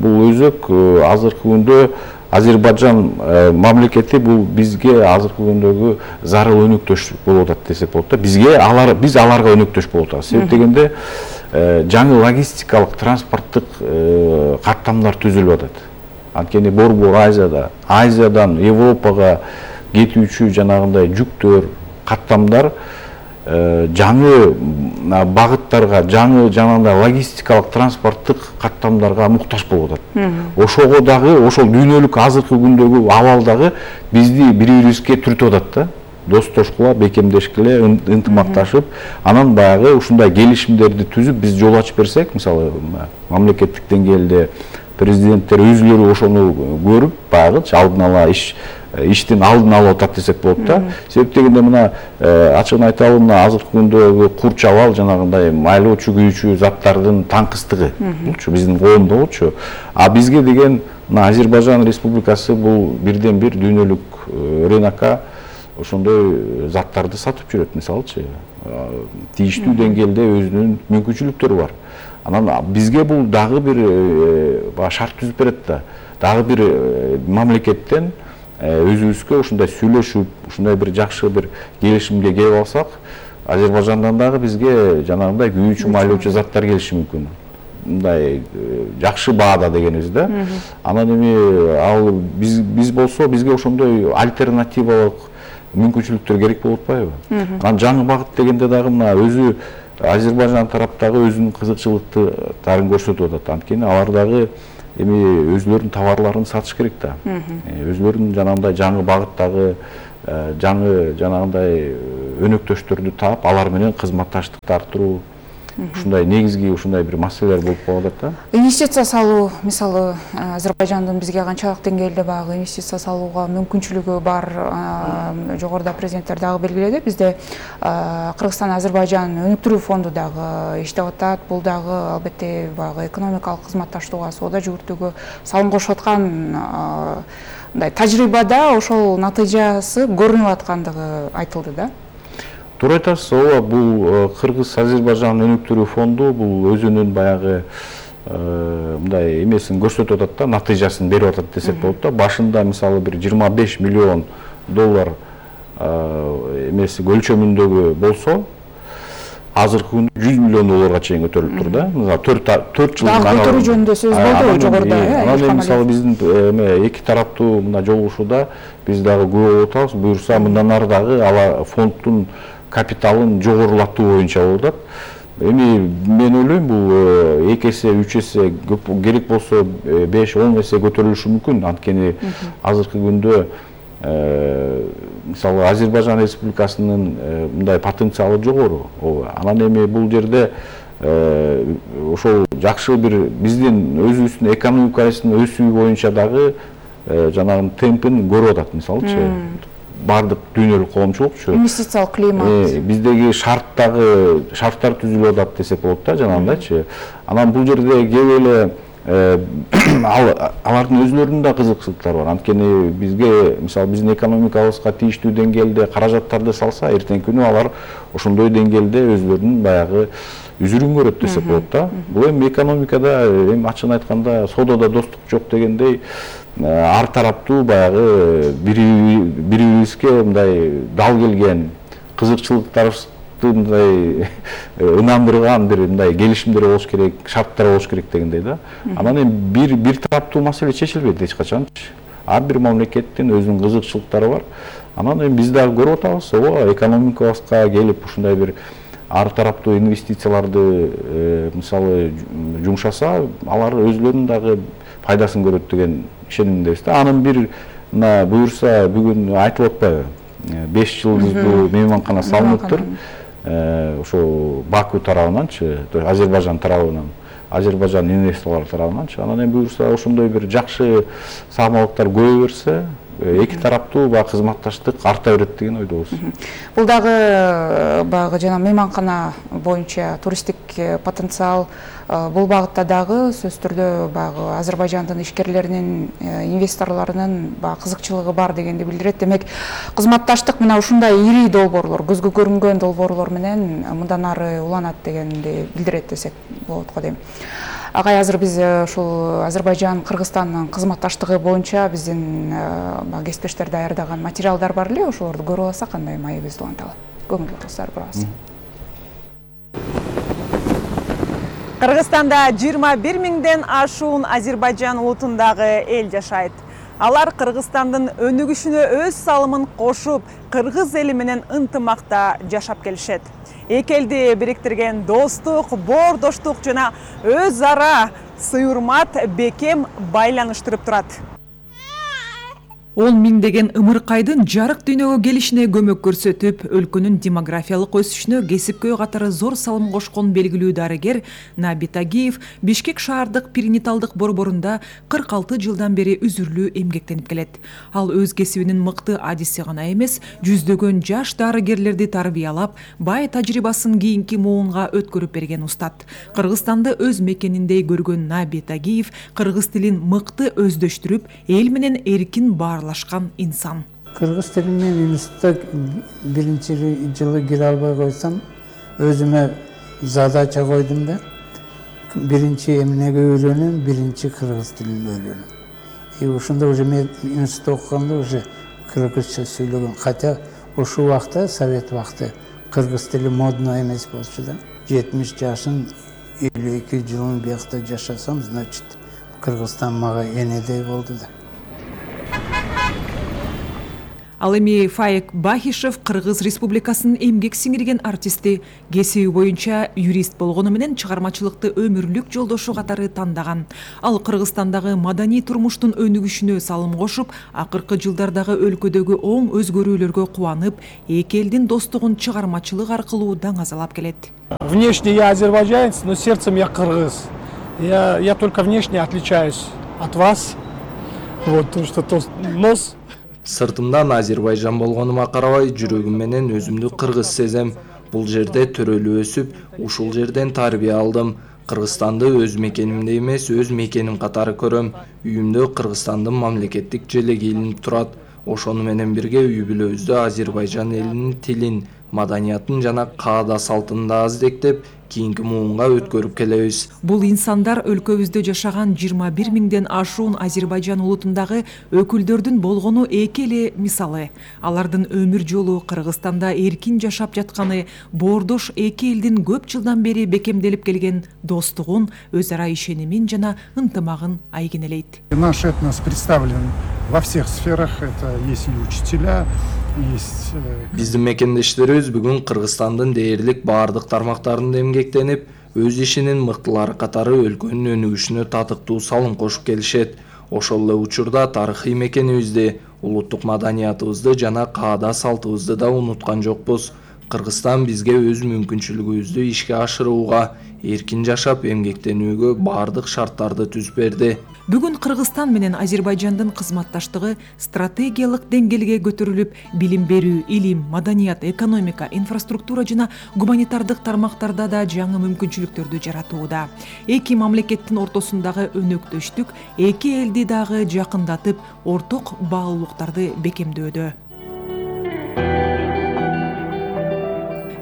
бул өзөк азыркы күндө Азербайжан мамлекети бул бизге азыркы күндөгү зарыл өнөктөш болуп атат десек болот да. Бизге алар, биз аларга өнөктөш болуп атабыз. Себеп дегенде жаңы логистикалык транспорттук каттамдар түзүлүп атат. Анткени Борбор Азияда, Азиядан Европага кетүүчү жанагындай жүктөр, каттамдар жаңы багыттарга, жаңы жанагындай логистикалык транспорттук каттамдарга муктаж болуп атат. Ошого дагы, ошол дүйнөлүк азыркы күндөгү абал дагы бизди бири-бирибизге түртүп атат да. Достошкула, бекемдешкиле, ынтымакташып, анан баягы ушундай келишимдерди түзүп биз жол ачып берсек, мисалы мамлекеттик деңгээлде президенттер өзүлөрү ошону көрүп, баягы алдын ала иш иштин алдын алып атат десек болот да. Себеп дегенде мына ачыгын айталы, мына азыркы күндөгү курч абал жанагындай майлоочу күйүүчү заттардын таңкыстыгы булчу биздин коомдо болчу. А бизге деген мына Азербайжан Республикасы бул бирден бир дүйнөлүк рынокко ошондой заттарды сатып жүрөт, мисалычы. Тийиштүү деңгээлде өзүнүн мүмкүнчүлүктөрү бар. Анан бизге бул дагы бир шарт түзүп берет да. Дагы бир мамлекеттен өзүбүзгө ушундай сүйлөшүп, ушундай бир жакшы бир келишимге келип алсак, Азербайжандан дагы бизге жанагындай күйүүчү майлоочу заттар келиши мүмкүн. Мындай жакшы баада дегенибиз да. Анан эми ал биз биз болсо бизге ошондой альтернативалык мүмкүнчүлүктөр керек болуп атпайбы? Анан жаңы багыт дегенде дагы мына өзү Азербайжан тараптагы өзүнүн кызыкчылыктарын көрсөтүп атат. Анткени алар дагы эми өзлөрүнүн товарларын сатыш керек да. Өзлөрүнүн жанагындай жаңы багыттагы жаңы жанагындай өнөктөштөрдү таап, алар менен кызматташтыкты арттыруу, ушундай негизги ушундай бир маселелер болуп калып атат да. Инвестиция салуу, мисалы, Азербайжандын бизге канчалык деңгээлде багы инвестиция салууга мүмкүнчүлүгү бар, жогоруда президенттер дагы белгиледи. Бизде Кыргызстан Азербайжан өнүктүрүү фонду дагы иштеп атат. Бул дагы албетте багы экономикалык кызматташтууга, соода жүгүртүүгө салым кошуп аткан мындай тажрыйбада ошол натыйжасы көрүнүп аткандыгы айтылды да. Туура айтасыз, ооба, бул Кыргыз Азербайжан өнүктүрүү фонду бул өзүнүн баягы мындай эмесин көрсөтүп атат да, натыйжасын берип атат десек болот да. Башында мисалы бир жыйырма беш миллион доллар эмеси өлчөмүндөгү болсо, азыркы күндө жүз миллион долларга чейин көтөрүлүп тур да. Мисалы төрт жылдын дагы көтөрүү жөнүндө сөз болду жогоруда. Анан мисалы биздин эки тараптуу мына жолугушууда биз дагы күбө болуп атабыз. Буюрса мындан ары дагы ала фонддун капиталын жогорулатуу боюнча болуп атат. Эми мен ойлойм бул эки эсе, үч эсе керек болсо беш он эсе көтөрүлүшү мүмкүн. Анткени азыркы күндө мисалы Азербайжан Республикасынын мындай потенциалы жогору. Анан эми бул жерде ошол жакшы бир биздин өзүбүздүн экономикабыздын өсүү боюнча дагы жанагы темпин көрүп атат, мисалычы. Бардык дүйнөлүк коомчулукчу инвестициялык климат биздеги шарттагы шарттар түзүлүп атат десек болот да, жанагындайчы. Анан бул жерде кеп эле алардын өзүлөрүнүн да кызыкчылыктары бар. Анткени бизге мисалы биздин экономикабызга тийиштүү деңгээлде каражаттарды салса, эртеңки күнү алар ошондой деңгээлде өзүлөрүнүн баягы үзүрүн көрөт десек болот да. Бул эми экономикада эми ачыгын айтканда соодада достук жок дегендей ар тараптуу баягы бири-бирибизге мындай дал келген кызыкчылыктарыбызды мындай ынандырган бир мындай келишимдер болуш керек, шарттар болуш керек дегендей да. Анан эми бир бир тараптуу маселе чечилбейт эч качанчы. Ар бир мамлекеттин өзүнүн кызыкчылыктары бар. Анан эми биз дагы көрүп атабыз, ооба, экономикабызга келип ушундай бир ар тараптуу инвестицияларды мисалы жумшаса, алар өзүлөрүнүн дагы пайдасын көрөт деген ишенимдебиз да. Анын бир мына буюрса бүгүн айтылып атпайбы? беш жылдыздуу мейманкана салыныптыр. Ошо Баку тарабынанчы, Азербайжан тарабынан, Азербайжан инвесторлор тарабынанчы. Анан эми буюрса ошондой бир жакшы саамалыктар көбөйө берсе, эки тараптуу баягы кызматташтык арта берет деген ойдобуз. Бул дагы баягы жана мейманкана боюнча туристтик потенциал, бул багытта дагы сөзсүз түрдө баягы Азербайжандын ишкерлеринин, инвесторлорунун баягы кызыкчылыгы бар дегенди билдирет. Демек, кызматташтык мына ушундай ири долбоорлор, көзгө көрүнгөн долбоорлор менен мындан ары уланат дегенди билдирет десек болот го дейм. Агай, азыр биз ушул Азербайжан Кыргызстандын кызматташтыгы боюнча биздин кесиптештер даярдаган материалдар бар эле, ошолорду көрүп алсак кандай маегибизди уланталы. Көңүл достор бурабыз. Кыргызстанда жыйырма бир миңден ашуун Азербайжан улутундагы эл жашайт. Алар Кыргызстандын өнүгүшүнө өз салымын кошуп, кыргыз эли менен ынтымакта жашап келишет. Эки элди бириктирген достук, боордоштук жана өз ара сый-урмат бекем байланыштырып турат. Он миңдеген ымыркайдын жарык дүйнөгө келишине көмөк көрсөтүп, өлкөнүн демографиялык өсүшүнө кесипкөй катары зор салым кошкон белгилүү дарыгер Наби Тагиев Бишкек шаардык перинаталдык борборунда кырк алты жылдан бери үзүрлүү эмгектенип келет. Ал өз кесибинин мыкты адиси гана эмес, жүздөгөн жаш дарыгерлерди тарбиялап, бай тажрыйбасын кийинки муунга өткөрүп берген устат. Кыргызстанды өз мекениндей көргөн Наби Тагиев кыргыз тилин мыкты өздөштүрүп, эл менен эркин баарлашкан инсан. Кыргыз тилин мен институтта биринчи жылы кире албай койсом, өзүмө задача койдум да. Биринчи эмнеге өйрөнөм, биринчи кыргыз тилин өйрөнөм. И ушунда уже мен институтта окуганда уже кыргызча сүйлөгөн. Хотя ошол убакта, совет убакты кыргыз тили модно эмес болчу да. жетимиш жашын элүү эки жылын биякта жашасам, значит, Кыргызстан мага энедей болду да. Ал эми Фаек Бахишев Кыргыз Республикасынын эмгек сиңирген артисти, кесиби боюнча юрист болгону менен чыгармачылыкты өмүрлүк жолдошу катары тандаган. Ал Кыргызстандагы маданий турмуштун өнүгүшүнө салым кошуп, акыркы жылдардагы өлкөдөгү оң өзгөрүүлөргө кубанып, эки элдин достугун чыгармачылык аркылуу даңазалап келет. Внешне я азербайджанец, но сердцем я кыргыз. Я, я только внешне отличаюсь от вас. Вот, то, что то, нос. Сыртымдан Азербайжан болгонума карабай, жүрөгүм менен өзүмдү кыргыз сезем. Бул жерде төрөлүп өсүп, ушул жерден тарбия алдым. Кыргызстанды өз мекенимде эмес, өз мекеним катары көрөм. Үйүмдө Кыргызстандын мамлекеттик желеги илинип турат. Ошону менен бирге үй бүлөбүздө Азербайжан элинин тилин, маданиятын жана каада салтын да аздектеп, кийинки муунга өткөрүп келебиз. Бул инсандар өлкөбүздө жашаган жыйырма бир миңден ашуун Азербайжан улутундагы өкүлдөрдүн болгону эки эле мисалы. Алардын өмүр жолу Кыргызстанда эркин жашап жатканы боордош эки элдин көп жылдан бери бекемделип келген достугун, өз ара ишенимин жана ынтымагын айгинелейт. Наш этнос представлен во всех сферах. Это есть и учителя, есть... Биздин мекендештерибиз бүгүн Кыргызстандын дээрлик баардык тармактарында эмгектенип, өз ишинин мыктылары катары өлкөнүн өнүгүшүнө татыктуу салым кошуп келишет. Ошол эле учурда тарыхый мекенибизди, улуттук маданиятыбызды жана каада салтыбызды да унуткан жокпуз. Кыргызстан бизге өз мүмкүнчүлүгүбүздү ишке ашырууга, эркин жашап эмгектенүүгө баардык шарттарды түзүп берди. Бүгүн Кыргызстан менен Азербайжандын кызматташтыгы стратегиялык деңгээлге көтөрүлүп, билим берүү, илим, маданият, экономика, инфраструктура жана гуманитардык тармактарда да жаңы мүмкүнчүлүктөрдү жаратууда. Эки мамлекеттин ортосундагы өнөктөштүк эки элди дагы жакындатып, орток баалуулуктарды бекемдөөдө.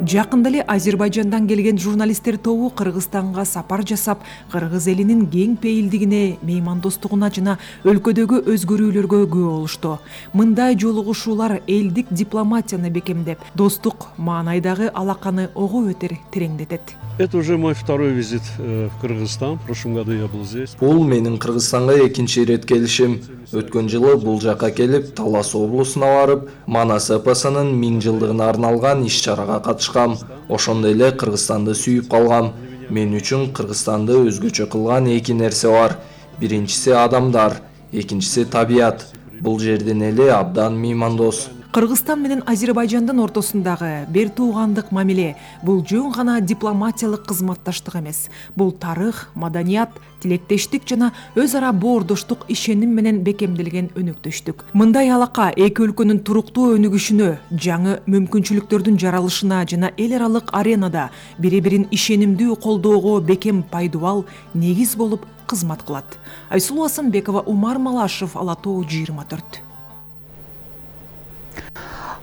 Жакында эле Азербайжандан келген журналисттер тобу Кыргызстанга сапар жасап, кыргыз элинин кең пейилдигине, меймандостугуна жана өлкөдөгү өзгөрүүлөргө күбө болушту. Мындай жолугушуулар элдик дипломатияны бекемдеп, достук маанайдагы алаканы ого өтер тереңдетет. Это уже мой второй визит в Кыргызстан. В прошлом году я был здесь. Бул менин Кыргызстанга экинчи ирет келишим. Өткөн жылы бул жака келип, Талас облусуна барып, Манас эпосунун миң жылдыгына арналган иш-чарага катышкам. Ошондой эле Кыргызстанды сүйүп калгам. Мен үчүн Кыргызстанды өзгөчө кылган эки нерсе бар. Биринчиси адамдар, экинчиси табият. Бул жерден эле абдан меймандос. Кыргызстан менен Азербайжандын ортосундагы бир туугандык мамиле бул жөн гана дипломатиялык кызматташтык эмес. Бул тарых, маданият, тилектештик жана өз ара боордоштук ишеним менен бекемделген өнөктөштүк. Мындай алака эки өлкөнүн туруктуу өнүгүшүнө, жаңы мүмкүнчүлүктөрдүн жаралышына жана эл аралык аренада бири-бирин ишенимдүү колдоого бекем пайдубал негиз болуп кызмат кылат. Айсулуу Асанбекова, Умар Малашев, Ала Тоо жыйырма төрт.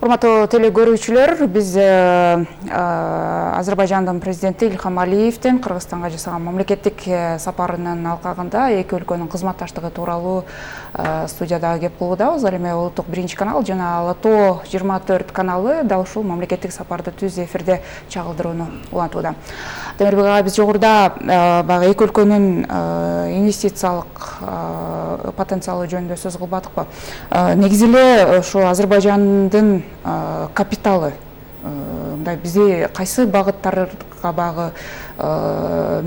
Урматтуу теле көрүүчүлөр, биз Азербайжандын президенти Ильхам Алиевдин Кыргызстанга жасаган мамлекеттик сапарынын алкагында эки өлкөнүн кызматташтыгы тууралуу студияда кеп кылуудабыз. Ал эми улуттук биринчи канал жана Ала Тоо жыйырма төрт каналы дал ушул мамлекеттик сапарды түз эфирде чагылдырууну улантууда. Демирбек ага, биз жогоруда баягы эки өлкөнүн инвестициялык потенциалы жөнүндө сөз кылбадыкпы? Негизи эле ошо Азербайжандын капиталы мындай бизде кайсы багыттарга багы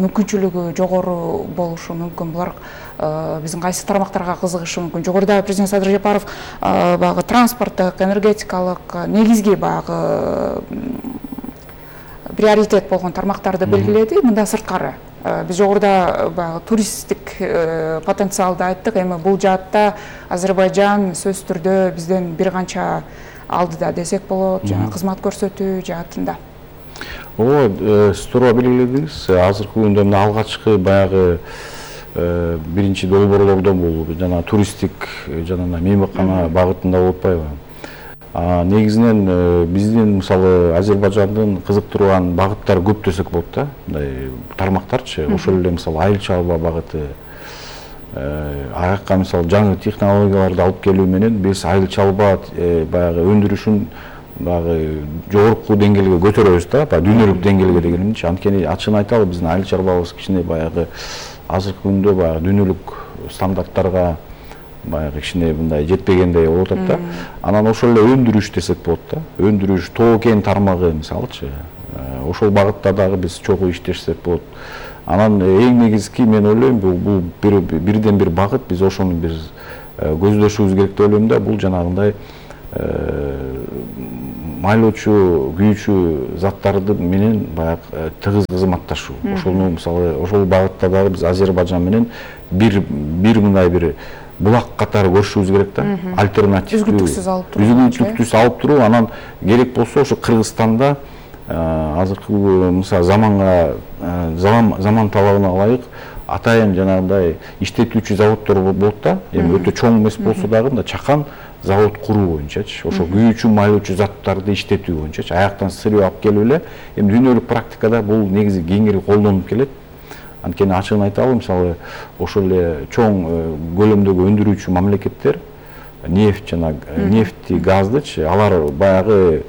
мүмкүнчүлүгү жогору болушу мүмкүн? Булар биздин кайсы тармактарга кызыгышы мүмкүн? Жогоруда президент Садыр Жапаров багы транспорттук, энергетикалык негизги багы приоритет болгон тармактарды белгиледи. Мында сырткары биз жогоруда баягы туристтик потенциалды айттык. Эми бул жаатта Азербайжан сөзсүз түрдө бизден бир канча алдыда десек болот, жана кызмат көрсөтүү жаатында. Ооба, сиз туура белгиледиңиз. Азыркы күндө мына алгачкы баягы биринчи долбоорлордон бул жана туристтик жана мейманкана багытында болуп атпайбы? Негизинен биздин мисалы Азербайжандын кызыктырган багыттары көп десек болот да, мындай тармактарчы. Ошол эле мисалы айыл чарба багыты, аяққа мисалы жаңы технологияларды алып келүү менен биз айыл чалба баягы өндүрүшүн баягы жогорку деңгээлге көтөрөбүз да, баягы дүйнөлүк деңгээлге дегенимчи. Анткени ачыгын айталы, биздин айыл чалбабыз кичине баягы азыркы күндө баягы дүйнөлүк стандарттарга баягы кичине мындай жетпегендей болуп атат да. Анан ошол эле өндүрүш десек болот да. Өндүрүш, тоо кен тармагы мисалычы. Ошол багытта дагы биз чогуу иштешсек болот. Анан эң негизги мен ойлойм, бул бирден бир багыт, биз ошону бир көздөшүбүз керек деп ойлойм да. Бул жанагындай майлоочу, күйүүчү заттарды менен баягы тыгыз кызматташуу. Ошону мисалы ошол багытта дагы биз Азербайжан менен бир бир мындай бир булак катары көрүшүбүз керек да. Альтернатив үзгүлтүксүз алып туруу. Үзгүлтүксүз алып туруу, анан керек болсо ошо Кыргызстанда азыркы мисалы заманга заман талабына ылайык атайын жанагындай иштетүүчү заводдор болот да. Эми өтө чоң эмес болсо дагы мындай чакан завод куруу боюнчачы, ошо күйүүчү, майлоочу заттарды иштетүү боюнчачы, аяктан сырып алып келип эле, эми дүйнөлүк практикада бул негизи кеңири колдонуп келет. Анткени ачыгын айталы, мисалы ошол эле чоң көлөмдөгү өндүрүүчү мамлекеттер нефть жана нефти, газдычы, алар баягы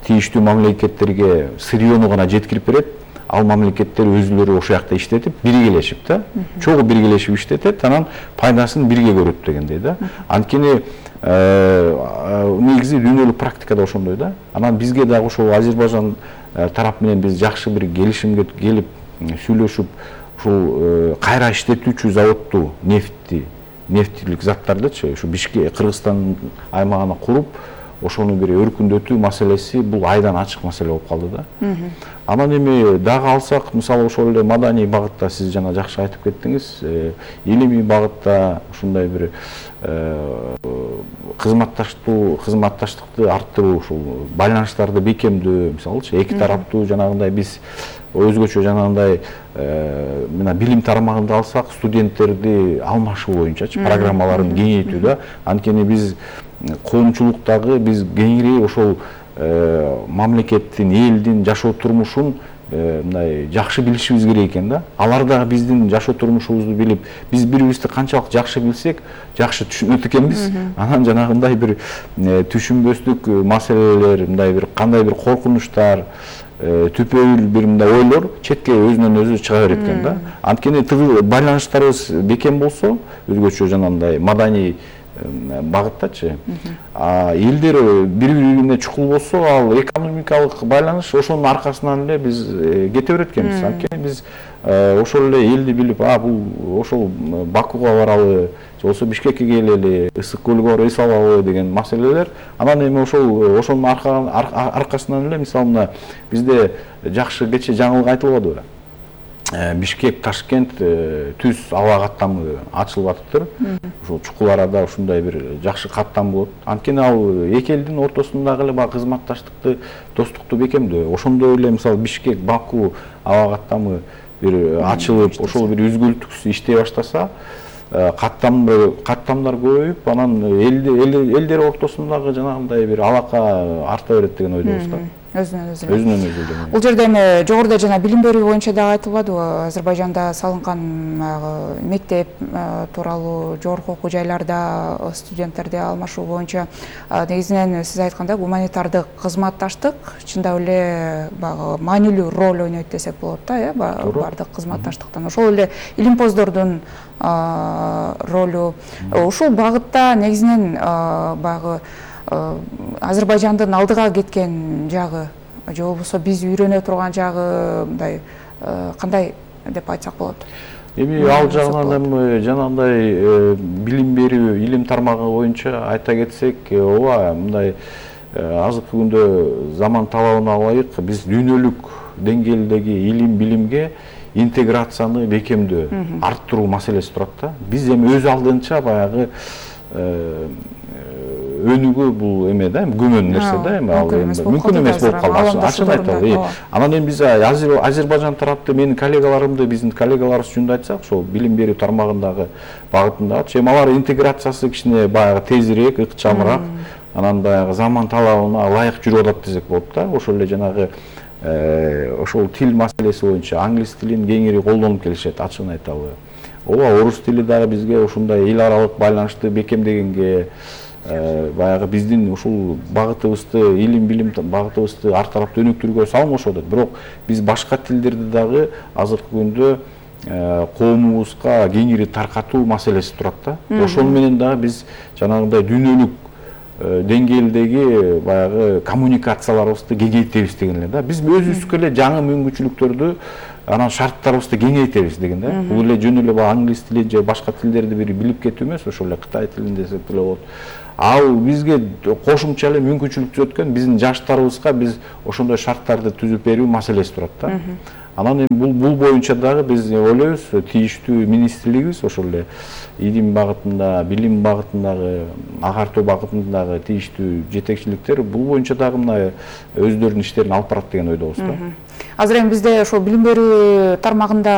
тийиштүү мамлекеттерге сырьёну гана жеткирип берет. Ал мамлекеттер өзүлөрү ошол жакта иштетип, биргелешип да, чогуу биргелешип иштетет, анан пайдасын бирге көрөт дегендей да. Анткени негизи дүйнөлүк практикада ошондой да. Анан бизге дагы ошол Азербайжан тарап менен биз жакшы бир келишимге келип сүйлөшүп, ушул кайра иштетүүчү заводду, нефти, нефтилик заттардычы, ушу Бишкек, Кыргызстан аймагына куруп, ошону бир өркүндөтүү маселеси бул айдан ачык маселе болуп калды да. Анан эми дагы алсак, мисалы ошол эле маданий багытта сиз жана жакшы айтып кеттиңиз, илимий багытта ушундай бир кызматташтуу, кызматташтыкты арттыруу, ушул байланыштарды бекемдөө, мисалычы эки тараптуу жанагындай биз өзгөчө жанагындай мына билим тармагында алсак, студенттерди алмашуу боюнчачы программаларын кеңейтүү да. Анткени биз коомчулуктагы биз кеңири ошол мамлекеттин, элдин жашоо турмушун мындай жакшы билишибиз керек экен да. Алар дагы биздин жашоо турмушубузду билип, биз бири-бирибизди канчалык жакшы билсек, жакшы түшүнөт экенбиз. Анан жанагындай бир түшүнбөстүк маселелер, мындай бир кандай бир коркунучтар, түпөйүл бир мындай ойлор четке өзүнөн өзү чыга берет экен да. Анткени байланыштарыбыз бекем болсо, өзгөчө жанагындай маданий багыттачы, элдер бири-бирине чукул болсо, ал экономикалык байланыш ошонун аркасынан эле биз кете берет экенбиз. Анткени биз ошол эле элди билип, а бул ошол Бакуга баралы, же болбосо Бишкекке келели, Ысык көлгө барып эс алалы деген маселелер. Анан эми ошол ошонун аркасынан эле мисалы мына бизде жакшы кече жаңылык айтылбадыбы? Бишкек, Ташкент түз аба каттамы ачылып атыптыр. Ошол чукул арада ушундай бир жакшы каттам болот. Анткени ал эки элдин ортосундагы эле баягы кызматташтыкты, достукту бекемдөө. Ошондой эле мисалы Бишкек, Баку аба каттамы бир ачылып, ошол бир үзгүлтүксүз иштей баштаса, каттамдар каттамдар көбөйүп, анан элдер ортосундагы жанагындай бир алака арта берет деген ойдобуз да. Өзүнөн өзү. Өзүнөн өзү. Бул жерде эми жогоруда жана билим берүү боюнча дагы айтылбадыбы, Азербайжанда салынган мектеп тууралуу жогорку окуу жайларда студенттерди алмашуу боюнча негизинен сиз айткандай гуманитардык кызматташтык чындап эле баягы маанилүү роль ойнойт десек болот да, э, баардык кызматташтыктан. Ошол эле илимпоздордун ролу ушул багытта негизинен баягы Азербайжандын алдыга кеткен жагы, же болбосо биз үйрөнө турган жагы мындай кандай деп айтсак болот? Эми ал жагынан эми жанагындай билим берүү, илим тармагы боюнча айта кетсек, ооба, мындай азыркы күндө заман талабына ылайык биз дүйнөлүк деңгээлдеги илим билимге интеграцияны бекемдөө, арттыруу маселеси турат да. Биз эми өз алдынча баягы өнүгүү бул эме да, көмөн нерсе да, эми ал мүмкүн эмес болуп калды. Ачык айталы. Анан эми биз Азербайжан тарапты, менин коллегаларымды, биздин коллегаларыбыз жөнүндө айтсак, ошол билим берүү тармагындагы багытындагы, эми алар интеграциясы кичине баягы тезирээк, ыкчамыраак, анан баягы заман талабына ылайык жүрүп атат десек болот да. Ошол эле жанагы ошол тил маселеси боюнча англис тилин кеңири колдонуп келишет, ачыгын айталы. ооба орус тили дагы бизге ушундай эл аралык байланышты бекемдегенге, баягы биздин ушул багытыбызды, илим билим багытыбызды ар тараптуу өнүктүрүүгө салым кошуп атат. Бирок биз башка тилдерди дагы азыркы күндө коомубузга кеңири таркатуу маселеси турат да. Ошол менен дагы биз жанагындай дүйнөлүк деңгээлдеги баягы коммуникацияларыбызды кеңейтебиз деген эле да. Биз өзүбүзгө эле жаңы мүмкүнчүлүктөрдү, анан шарттарыбызды кеңейтебиз деген да. Бул эле жөн эле англис тилин же башка тилдерди бир билип кетүү эмес, ошол эле кытай тилин десек деле болот. Ал бизге кошумча эле мүмкүнчүлүк түзөт экен, биздин жаштарыбызга биз ошондой шарттарды түзүп берүү маселеси турат да. Анан эми бул бул боюнча дагы биз ойлойбуз, тийиштүү министрлигибиз ошол эле илим багытында, билим багытындагы, агартуу багытындагы тийиштүү жетекчиликтер бул боюнча дагы мына өздөрүнүн иштерин алып барат деген ойдобуз да. Азыр эми бизде ошол билим берүү тармагында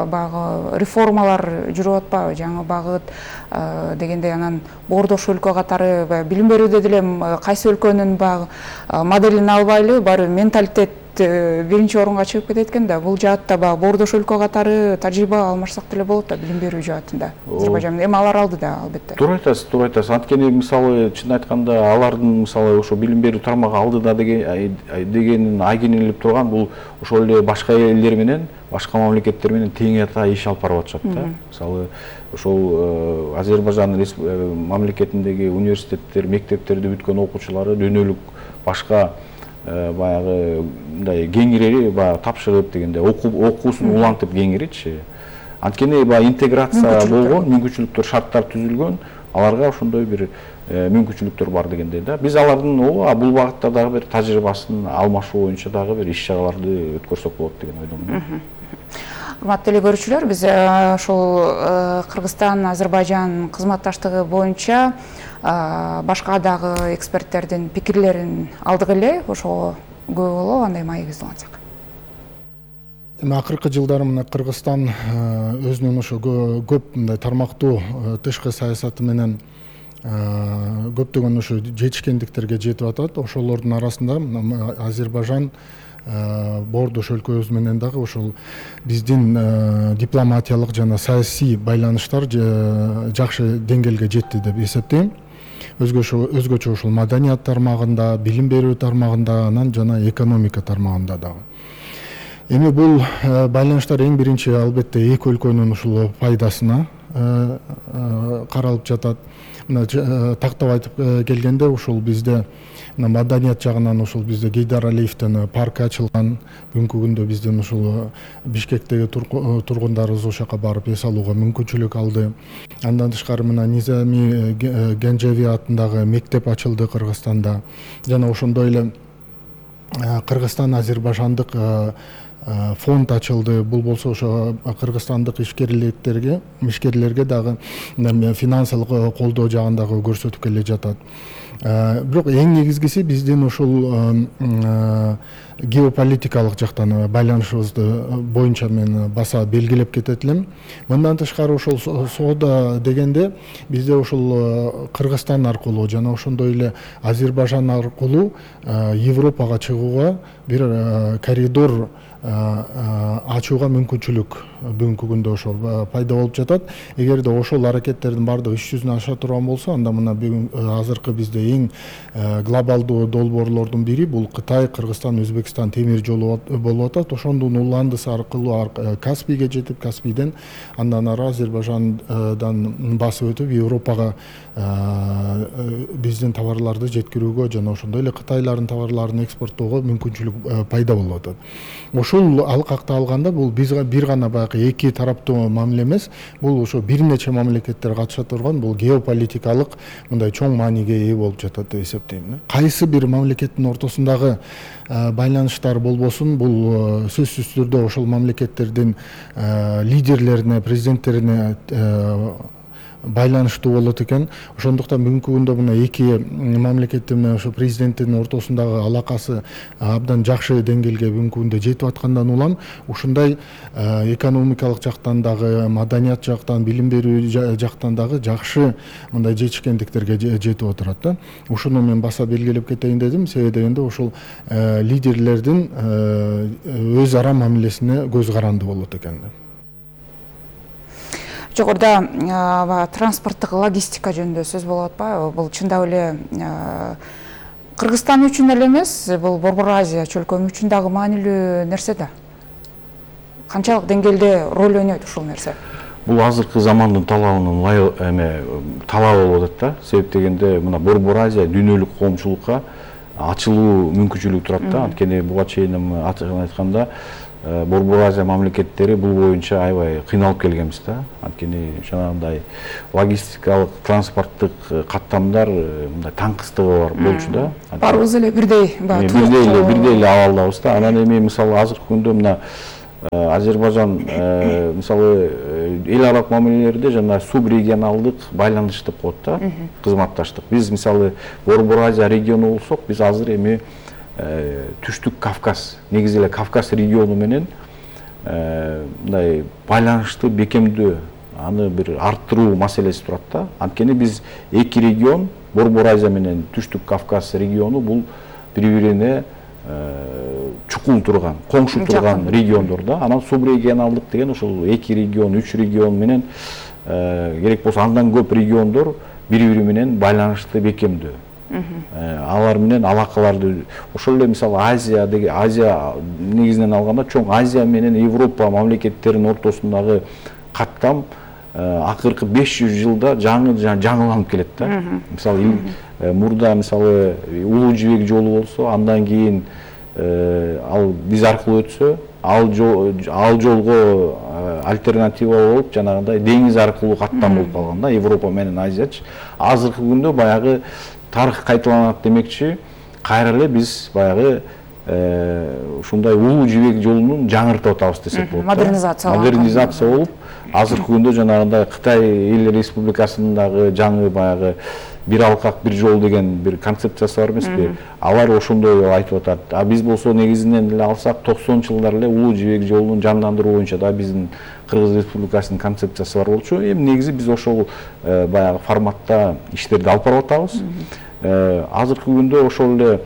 баягы реформалар жүрүп атпайбы, жаңы багыт дегендей, анан боордош өлкө катары билим берүүдө деле кайсы өлкөнүн баягы моделин албайлы, баары менталитет биринчи орунга чыгып кетет экен да. Бул жаатта баягы боордош өлкө катары тажрыйба алмашсак деле болот да билим берүү жаатында. Азербайжан эми алар алды да, албетте. Туура айтасыз, туура айтасыз. Анткени мисалы чын айтканда алардын мисалы ошо билим берүү тармагы алдыда дегенин айгинелеп турган бул ошол эле башка элдер менен, башка мамлекеттер менен тең ата иш алып барып атышат да. Мисалы ошол Азербайжан мамлекетиндеги университеттер, мектептерди бүткөн окуучулары дүйнөлүк башка баягы мындай кеңири баягы тапшырып дегенде окуусун улантып кеңиричи. Анткени баягы интеграция болгон, мүмкүнчүлүктөр, шарттар түзүлгөн, аларга ошондой бир мүмкүнчүлүктөр бар дегендей да. Биз алардын ооба бул багытта дагы бир тажрыйбасын алмашуу боюнча дагы бир иш чараларды өткөрсөк болот деген ойдомун. Урматтуу эле көрүүчүлөр, биз ошол Кыргызстан Азербайжан кызматташтыгы боюнча башка дагы эксперттердин пикирлерин алдык эле, ошого күбө болуп андай маегибизди улантсак. Эми акыркы жылдары мына Кыргызстан өзүнүн ошо көп мындай тармактуу тышкы саясаты менен көптөгөн ошо жетишкендиктерге жетип атат. Ошолордун арасында Азербайжан боордош өлкөбүз менен дагы ошол биздин дипломатиялык жана саясий байланыштар жакшы деңгээлге жетти деп эсептейм. Өзгөчө ошол маданият тармагында, билим берүү тармагында, анан жана экономика тармагында дагы. Эми бул байланыштар эң биринчи албетте эки өлкөнүн ушул пайдасына каралып жатат. Тактап айтып келгенде ушул бизде маданият жагынан ушул бизде Гейдар Алиевдин паркы ачылган. Бүгүнкү күндө биздин ушул Бишкектеги тургундарыбыз ошол жака барып эс алууга мүмкүнчүлүк алды. Андан тышкары мына Низами Генжеви атындагы мектеп ачылды Кыргызстанда. Жана ошондой эле Кыргызстан Азербайжандык фонд ачылды. Бул болсо ошо кыргызстандык ишкерлерге, ишкерлерге дагы финансылык колдоо жагындагы көрсөтүп келе жатат. Бирок эң негизгиси биздин ушул геополитикалык жактан байланышыбызды боюнча мен баса белгилеп кетет элем. Мындан тышкары ошол соода дегенде бизде ошол Кыргызстан аркылуу жана ошондой эле Азербайжан аркылуу Европага чыгууга бир коридор ачууга мүмкүнчүлүк бүгүнкү күндө ошол пайда болуп жатат. Эгерде ошол аракеттердин баардыгы иш жүзүнө аша турган болсо, анда мына бүгүн азыркы бизде эң глобалдуу долбоорлордун бири бул Кытай, Кыргызстан, Өзбекстан темир жолу болуп атат. Ошондун уландысы аркылуу Каспийге жетип, Каспийден андан ары Азербайжандан басып өтүп Европага биздин товарларды жеткирүүгө жана ошондой эле Кытайлардын товарларын экспорттоого мүмкүнчүлүк пайда болуп атат. Ошол алкакта алганда бул биз бир гана баягы эки тараптуу мамиле эмес, бул ошо бир нече мамлекеттер катыша турган бул геополитикалык мындай чоң мааниге ээ болуп жатат деп эсептейм. Кайсы бир мамлекеттин ортосундагы байланыштар болбосун, бул сөзсүз түрдө ошол мамлекеттердин лидерлерине, президенттерине байланыштуу болот экен. Ошондуктан бүгүнкү күндө мына эки мамлекеттин менен ошо президенттин ортосундагы алакасы абдан жакшы деңгээлге бүгүнкү күндө жетип аткандан улам ушундай экономикалык жактан дагы, маданият жактан, билим берүү жактан дагы жакшы мындай жетишкендиктерге жетип отурат да. Ушуну мен баса белгилеп кетейин дедим, себеби дегенде ошол лидерлердин өз ара мамилесине көз каранды болот экен. жогоруда транспорттук логистика жөнүндө сөз болуп атпайбы? Бул чындап эле Кыргызстан үчүн эле эмес, бул Борбор Азия чөлкөмү үчүн дагы маанилүү нерсе да. Канчалык деңгээлде роль ойнойт ушул нерсе? Бул азыркы замандын талабынын эме талабы болуп атат да. Себеп дегенде мына Борбор Азия дүйнөлүк коомчулукка ачылуу мүмкүнчүлүгү турат да. Анткени буга чейин ачыгын айтканда Борбор Азия мамлекеттери бул боюнча аябай кыйналып келгенбиз да. Анткени жанагындай логистикалык, транспорттук каттамдар мындай таңкыстыгы бар болчу да. Барыбыз эле бирдей, бирдей эле бирдей эле абалдабыз да. Анан эми мисалы азыркы күндө мына Азербайжан мисалы эл аралык мамилелерде жана субрегионалдык байланыш деп коет да, кызматташтык. Биз мисалы Борбор Азия региону болсок, биз азыр эми Түштүк Кавказ, негизи эле Кавказ региону менен мындай байланышты бекемдөө, аны бир арттыруу маселеси турат да. Анткени биз эки регион, Борбор Азия менен Түштүк Кавказ региону бул бири-бирине чукул турган, коңшу турган региондор да. Анан субрегионалдык деген ошол эки регион, үч регион менен керек болсо андан көп региондор бири-бири менен байланышты бекемдөө. Алар менен алакаларды ошол эле мисалы Азия деген Азия негизинен алганда чоң Азия менен Европа мамлекеттеринин ортосундагы каттам акыркы беш жүз жылда жаңы жаңыланып келет да. Мисалы мурда мисалы Улуу Жибек жолу болсо, андан кийин ал биз аркылуу өтсө, ал жолго альтернатива болуп жанагындай деңиз аркылуу каттам болуп калган да, Европа менен Азиячы. Азыркы күндө баягы тарых кайталанат демекчи, кайра эле биз баягы ушундай Улуу Жибек жолунун жаңыртып атабыз десек болот. Модернизация модернизация болуп, азыркы күндө жанагындай Кытай Эл Республикасындагы жаңы баягы бир алкак бир жол деген бир концепциясы бар эмеспи? Алар ошондой деп айтып атат. А биз болсо негизинен эле алсак токсонунчу жылдары эле Улуу Жибек жолунун жандандыруу боюнча да биздин Кыргыз Республикасынын концепциясы бар болчу. Эми негизи биз ошол баягы форматта иштерди алып барып атабыз. Азыркы күндө ошол эле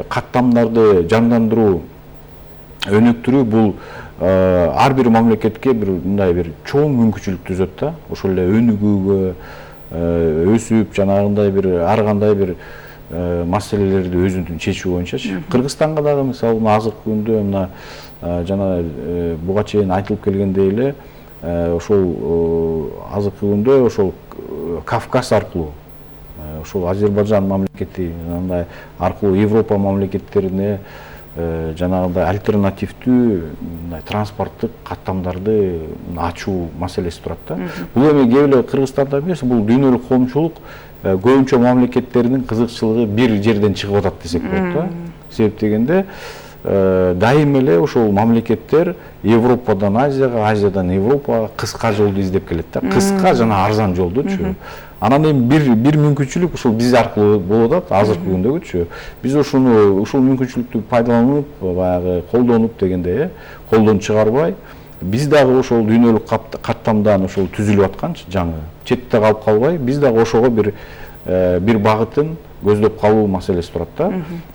каттамдарды жандандыруу, өнүктүрүү бул ар бир мамлекетке бир мындай бир чоң мүмкүнчүлүк түзөт да. Ошол эле өнүгүүгө, өсүп жанагындай бир ар кандай бир маселелерди өзүнүн чечүү боюнчачы. Кыргызстанга дагы мисалы азыркы күндө мына жана буга чейин айтылып келгендей эле ошол азыркы күндө ошол Кавказ аркылуу ошол Азербайжан мамлекети мындай аркылуу Европа мамлекеттерине жанагындай альтернативдүү мындай транспорттук каттамдарды ачуу маселеси турат да. Бул эми кээ эле Кыргызстанда эмес, бул дүйнөлүк коомчулук көбүнчө мамлекеттеринин кызыкчылыгы бир жерден чыгып атат десек болот да. Себеп дегенде дайым эле ошол мамлекеттер Европадан Азияга, Азиядан Европага кыска жолду издеп келет да. Кыска жана арзан жолдучу. Анан эми бир бир мүмкүнчүлүк ушул биз аркылуу болуп атат азыркы күндөгүчү. Биз ошону ушул мүмкүнчүлүктү пайдаланып, баягы колдонуп дегенде, колдон чыгарбай, биз дагы ошол дүйнөлүк каттамдан ошол түзүлүп атканчы жаңы четте калып калбай, биз дагы ошого бир бир багытын көздөп калуу маселеси турат да.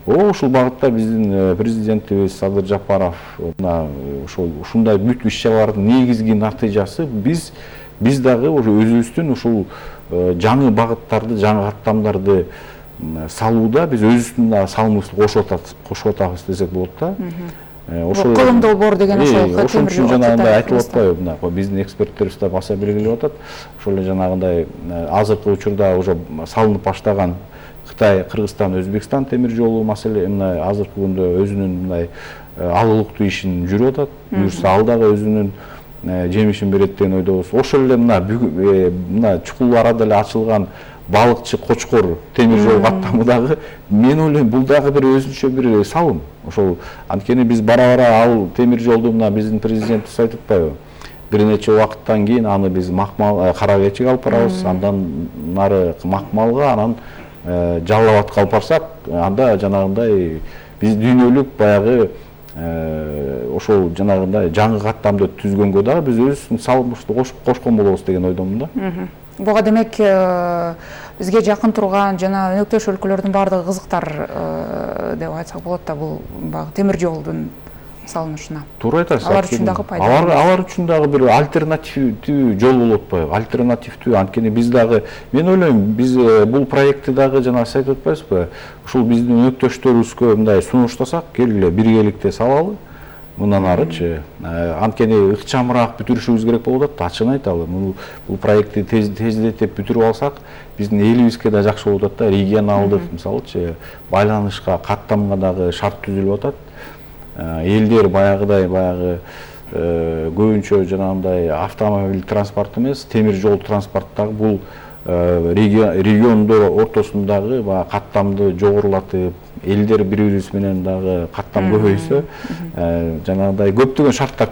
Ошол багытта биздин президентибиз Садыр Жапаров мына ошол ушундай бүт иш-чаралардын негизги натыйжасы биз биз дагы өзүбүздүн ушул жаңы багыттарды, жаңы каттамдарды салууда биз өзүбүздүн дагы салымыбызды кошуп атабыз, кошуп атабыз десек болот да. Ошол кылым долбоор деген ошол ошон үчүн жанагындай айтылып атпайбы, мына биздин эксперттерибиз да баса белгилеп атат. Ошол эле жанагындай азыркы учурда уже салынып баштаган Кытай, Кыргызстан, Өзбекстан темир жолу маселе мына азыркы күндө өзүнүн мындай алылыктуу ишин жүрүп атат. Буюрса ал дагы өзүнүн жемишин берет деген ойдобуз. Ошол эле мына мына чукул арада эле ачылган балыкчы Кочкор темир жол каттамы дагы мен ойлойм бул дагы бир өзүнчө бир салым. Ошол анткени биз бара-бара ал темир жолду мына биздин президентибиз айтып атпайбы? Бир нече убакыттан кийин аны биз Макмал, Кара Кечиге алып барабыз, андан нары Макмалга, анан Жалал Абадка алып барсак, анда жанагындай биз дүйнөлүк баягы ошол жанагындай жаңы каттамды түзгөнгө дагы биз өзүбүздүн салымыбызды кошкон болобуз деген ойдомун да. Буга демек бизге жакын турган жана өнөктөш өлкөлөрдүн баардыгы кызыктар деп айтсак болот да, бул баягы темир жолдун салынышына. Туура айтасыз. Алар үчүн дагы пайдалуу. Алар алар үчүн дагы бир альтернативдүү жол болуп атпайбы? Альтернативдүү, анткени биз дагы, мен ойлойм, биз бул проектти дагы жана сиз айтып атпайсызбы? Ушул биздин өнөктөштөрүбүзгө мындай сунуштасак, келгиле биргеликте салалы. Мындан арычы, анткени ыкчамыраак бүтүрүшүбүз керек болуп атат. Ачыгын айталы, бул проектти тездетип бүтүрүп алсак, биздин элибизге да жакшы болуп атат да, регионалдык, мисалычы, байланышка, каттамга дагы шарт түзүлүп атат. Элдер баягыдай баягы көбүнчө жанагындай автомобиль транспорт эмес, темир жол транспорттагы бул региондор ортосундагы баягы каттамды жогорулатып, элдер бири-бирибиз менен дагы каттам көбөйсө, жанагындай көптөгөн шарттар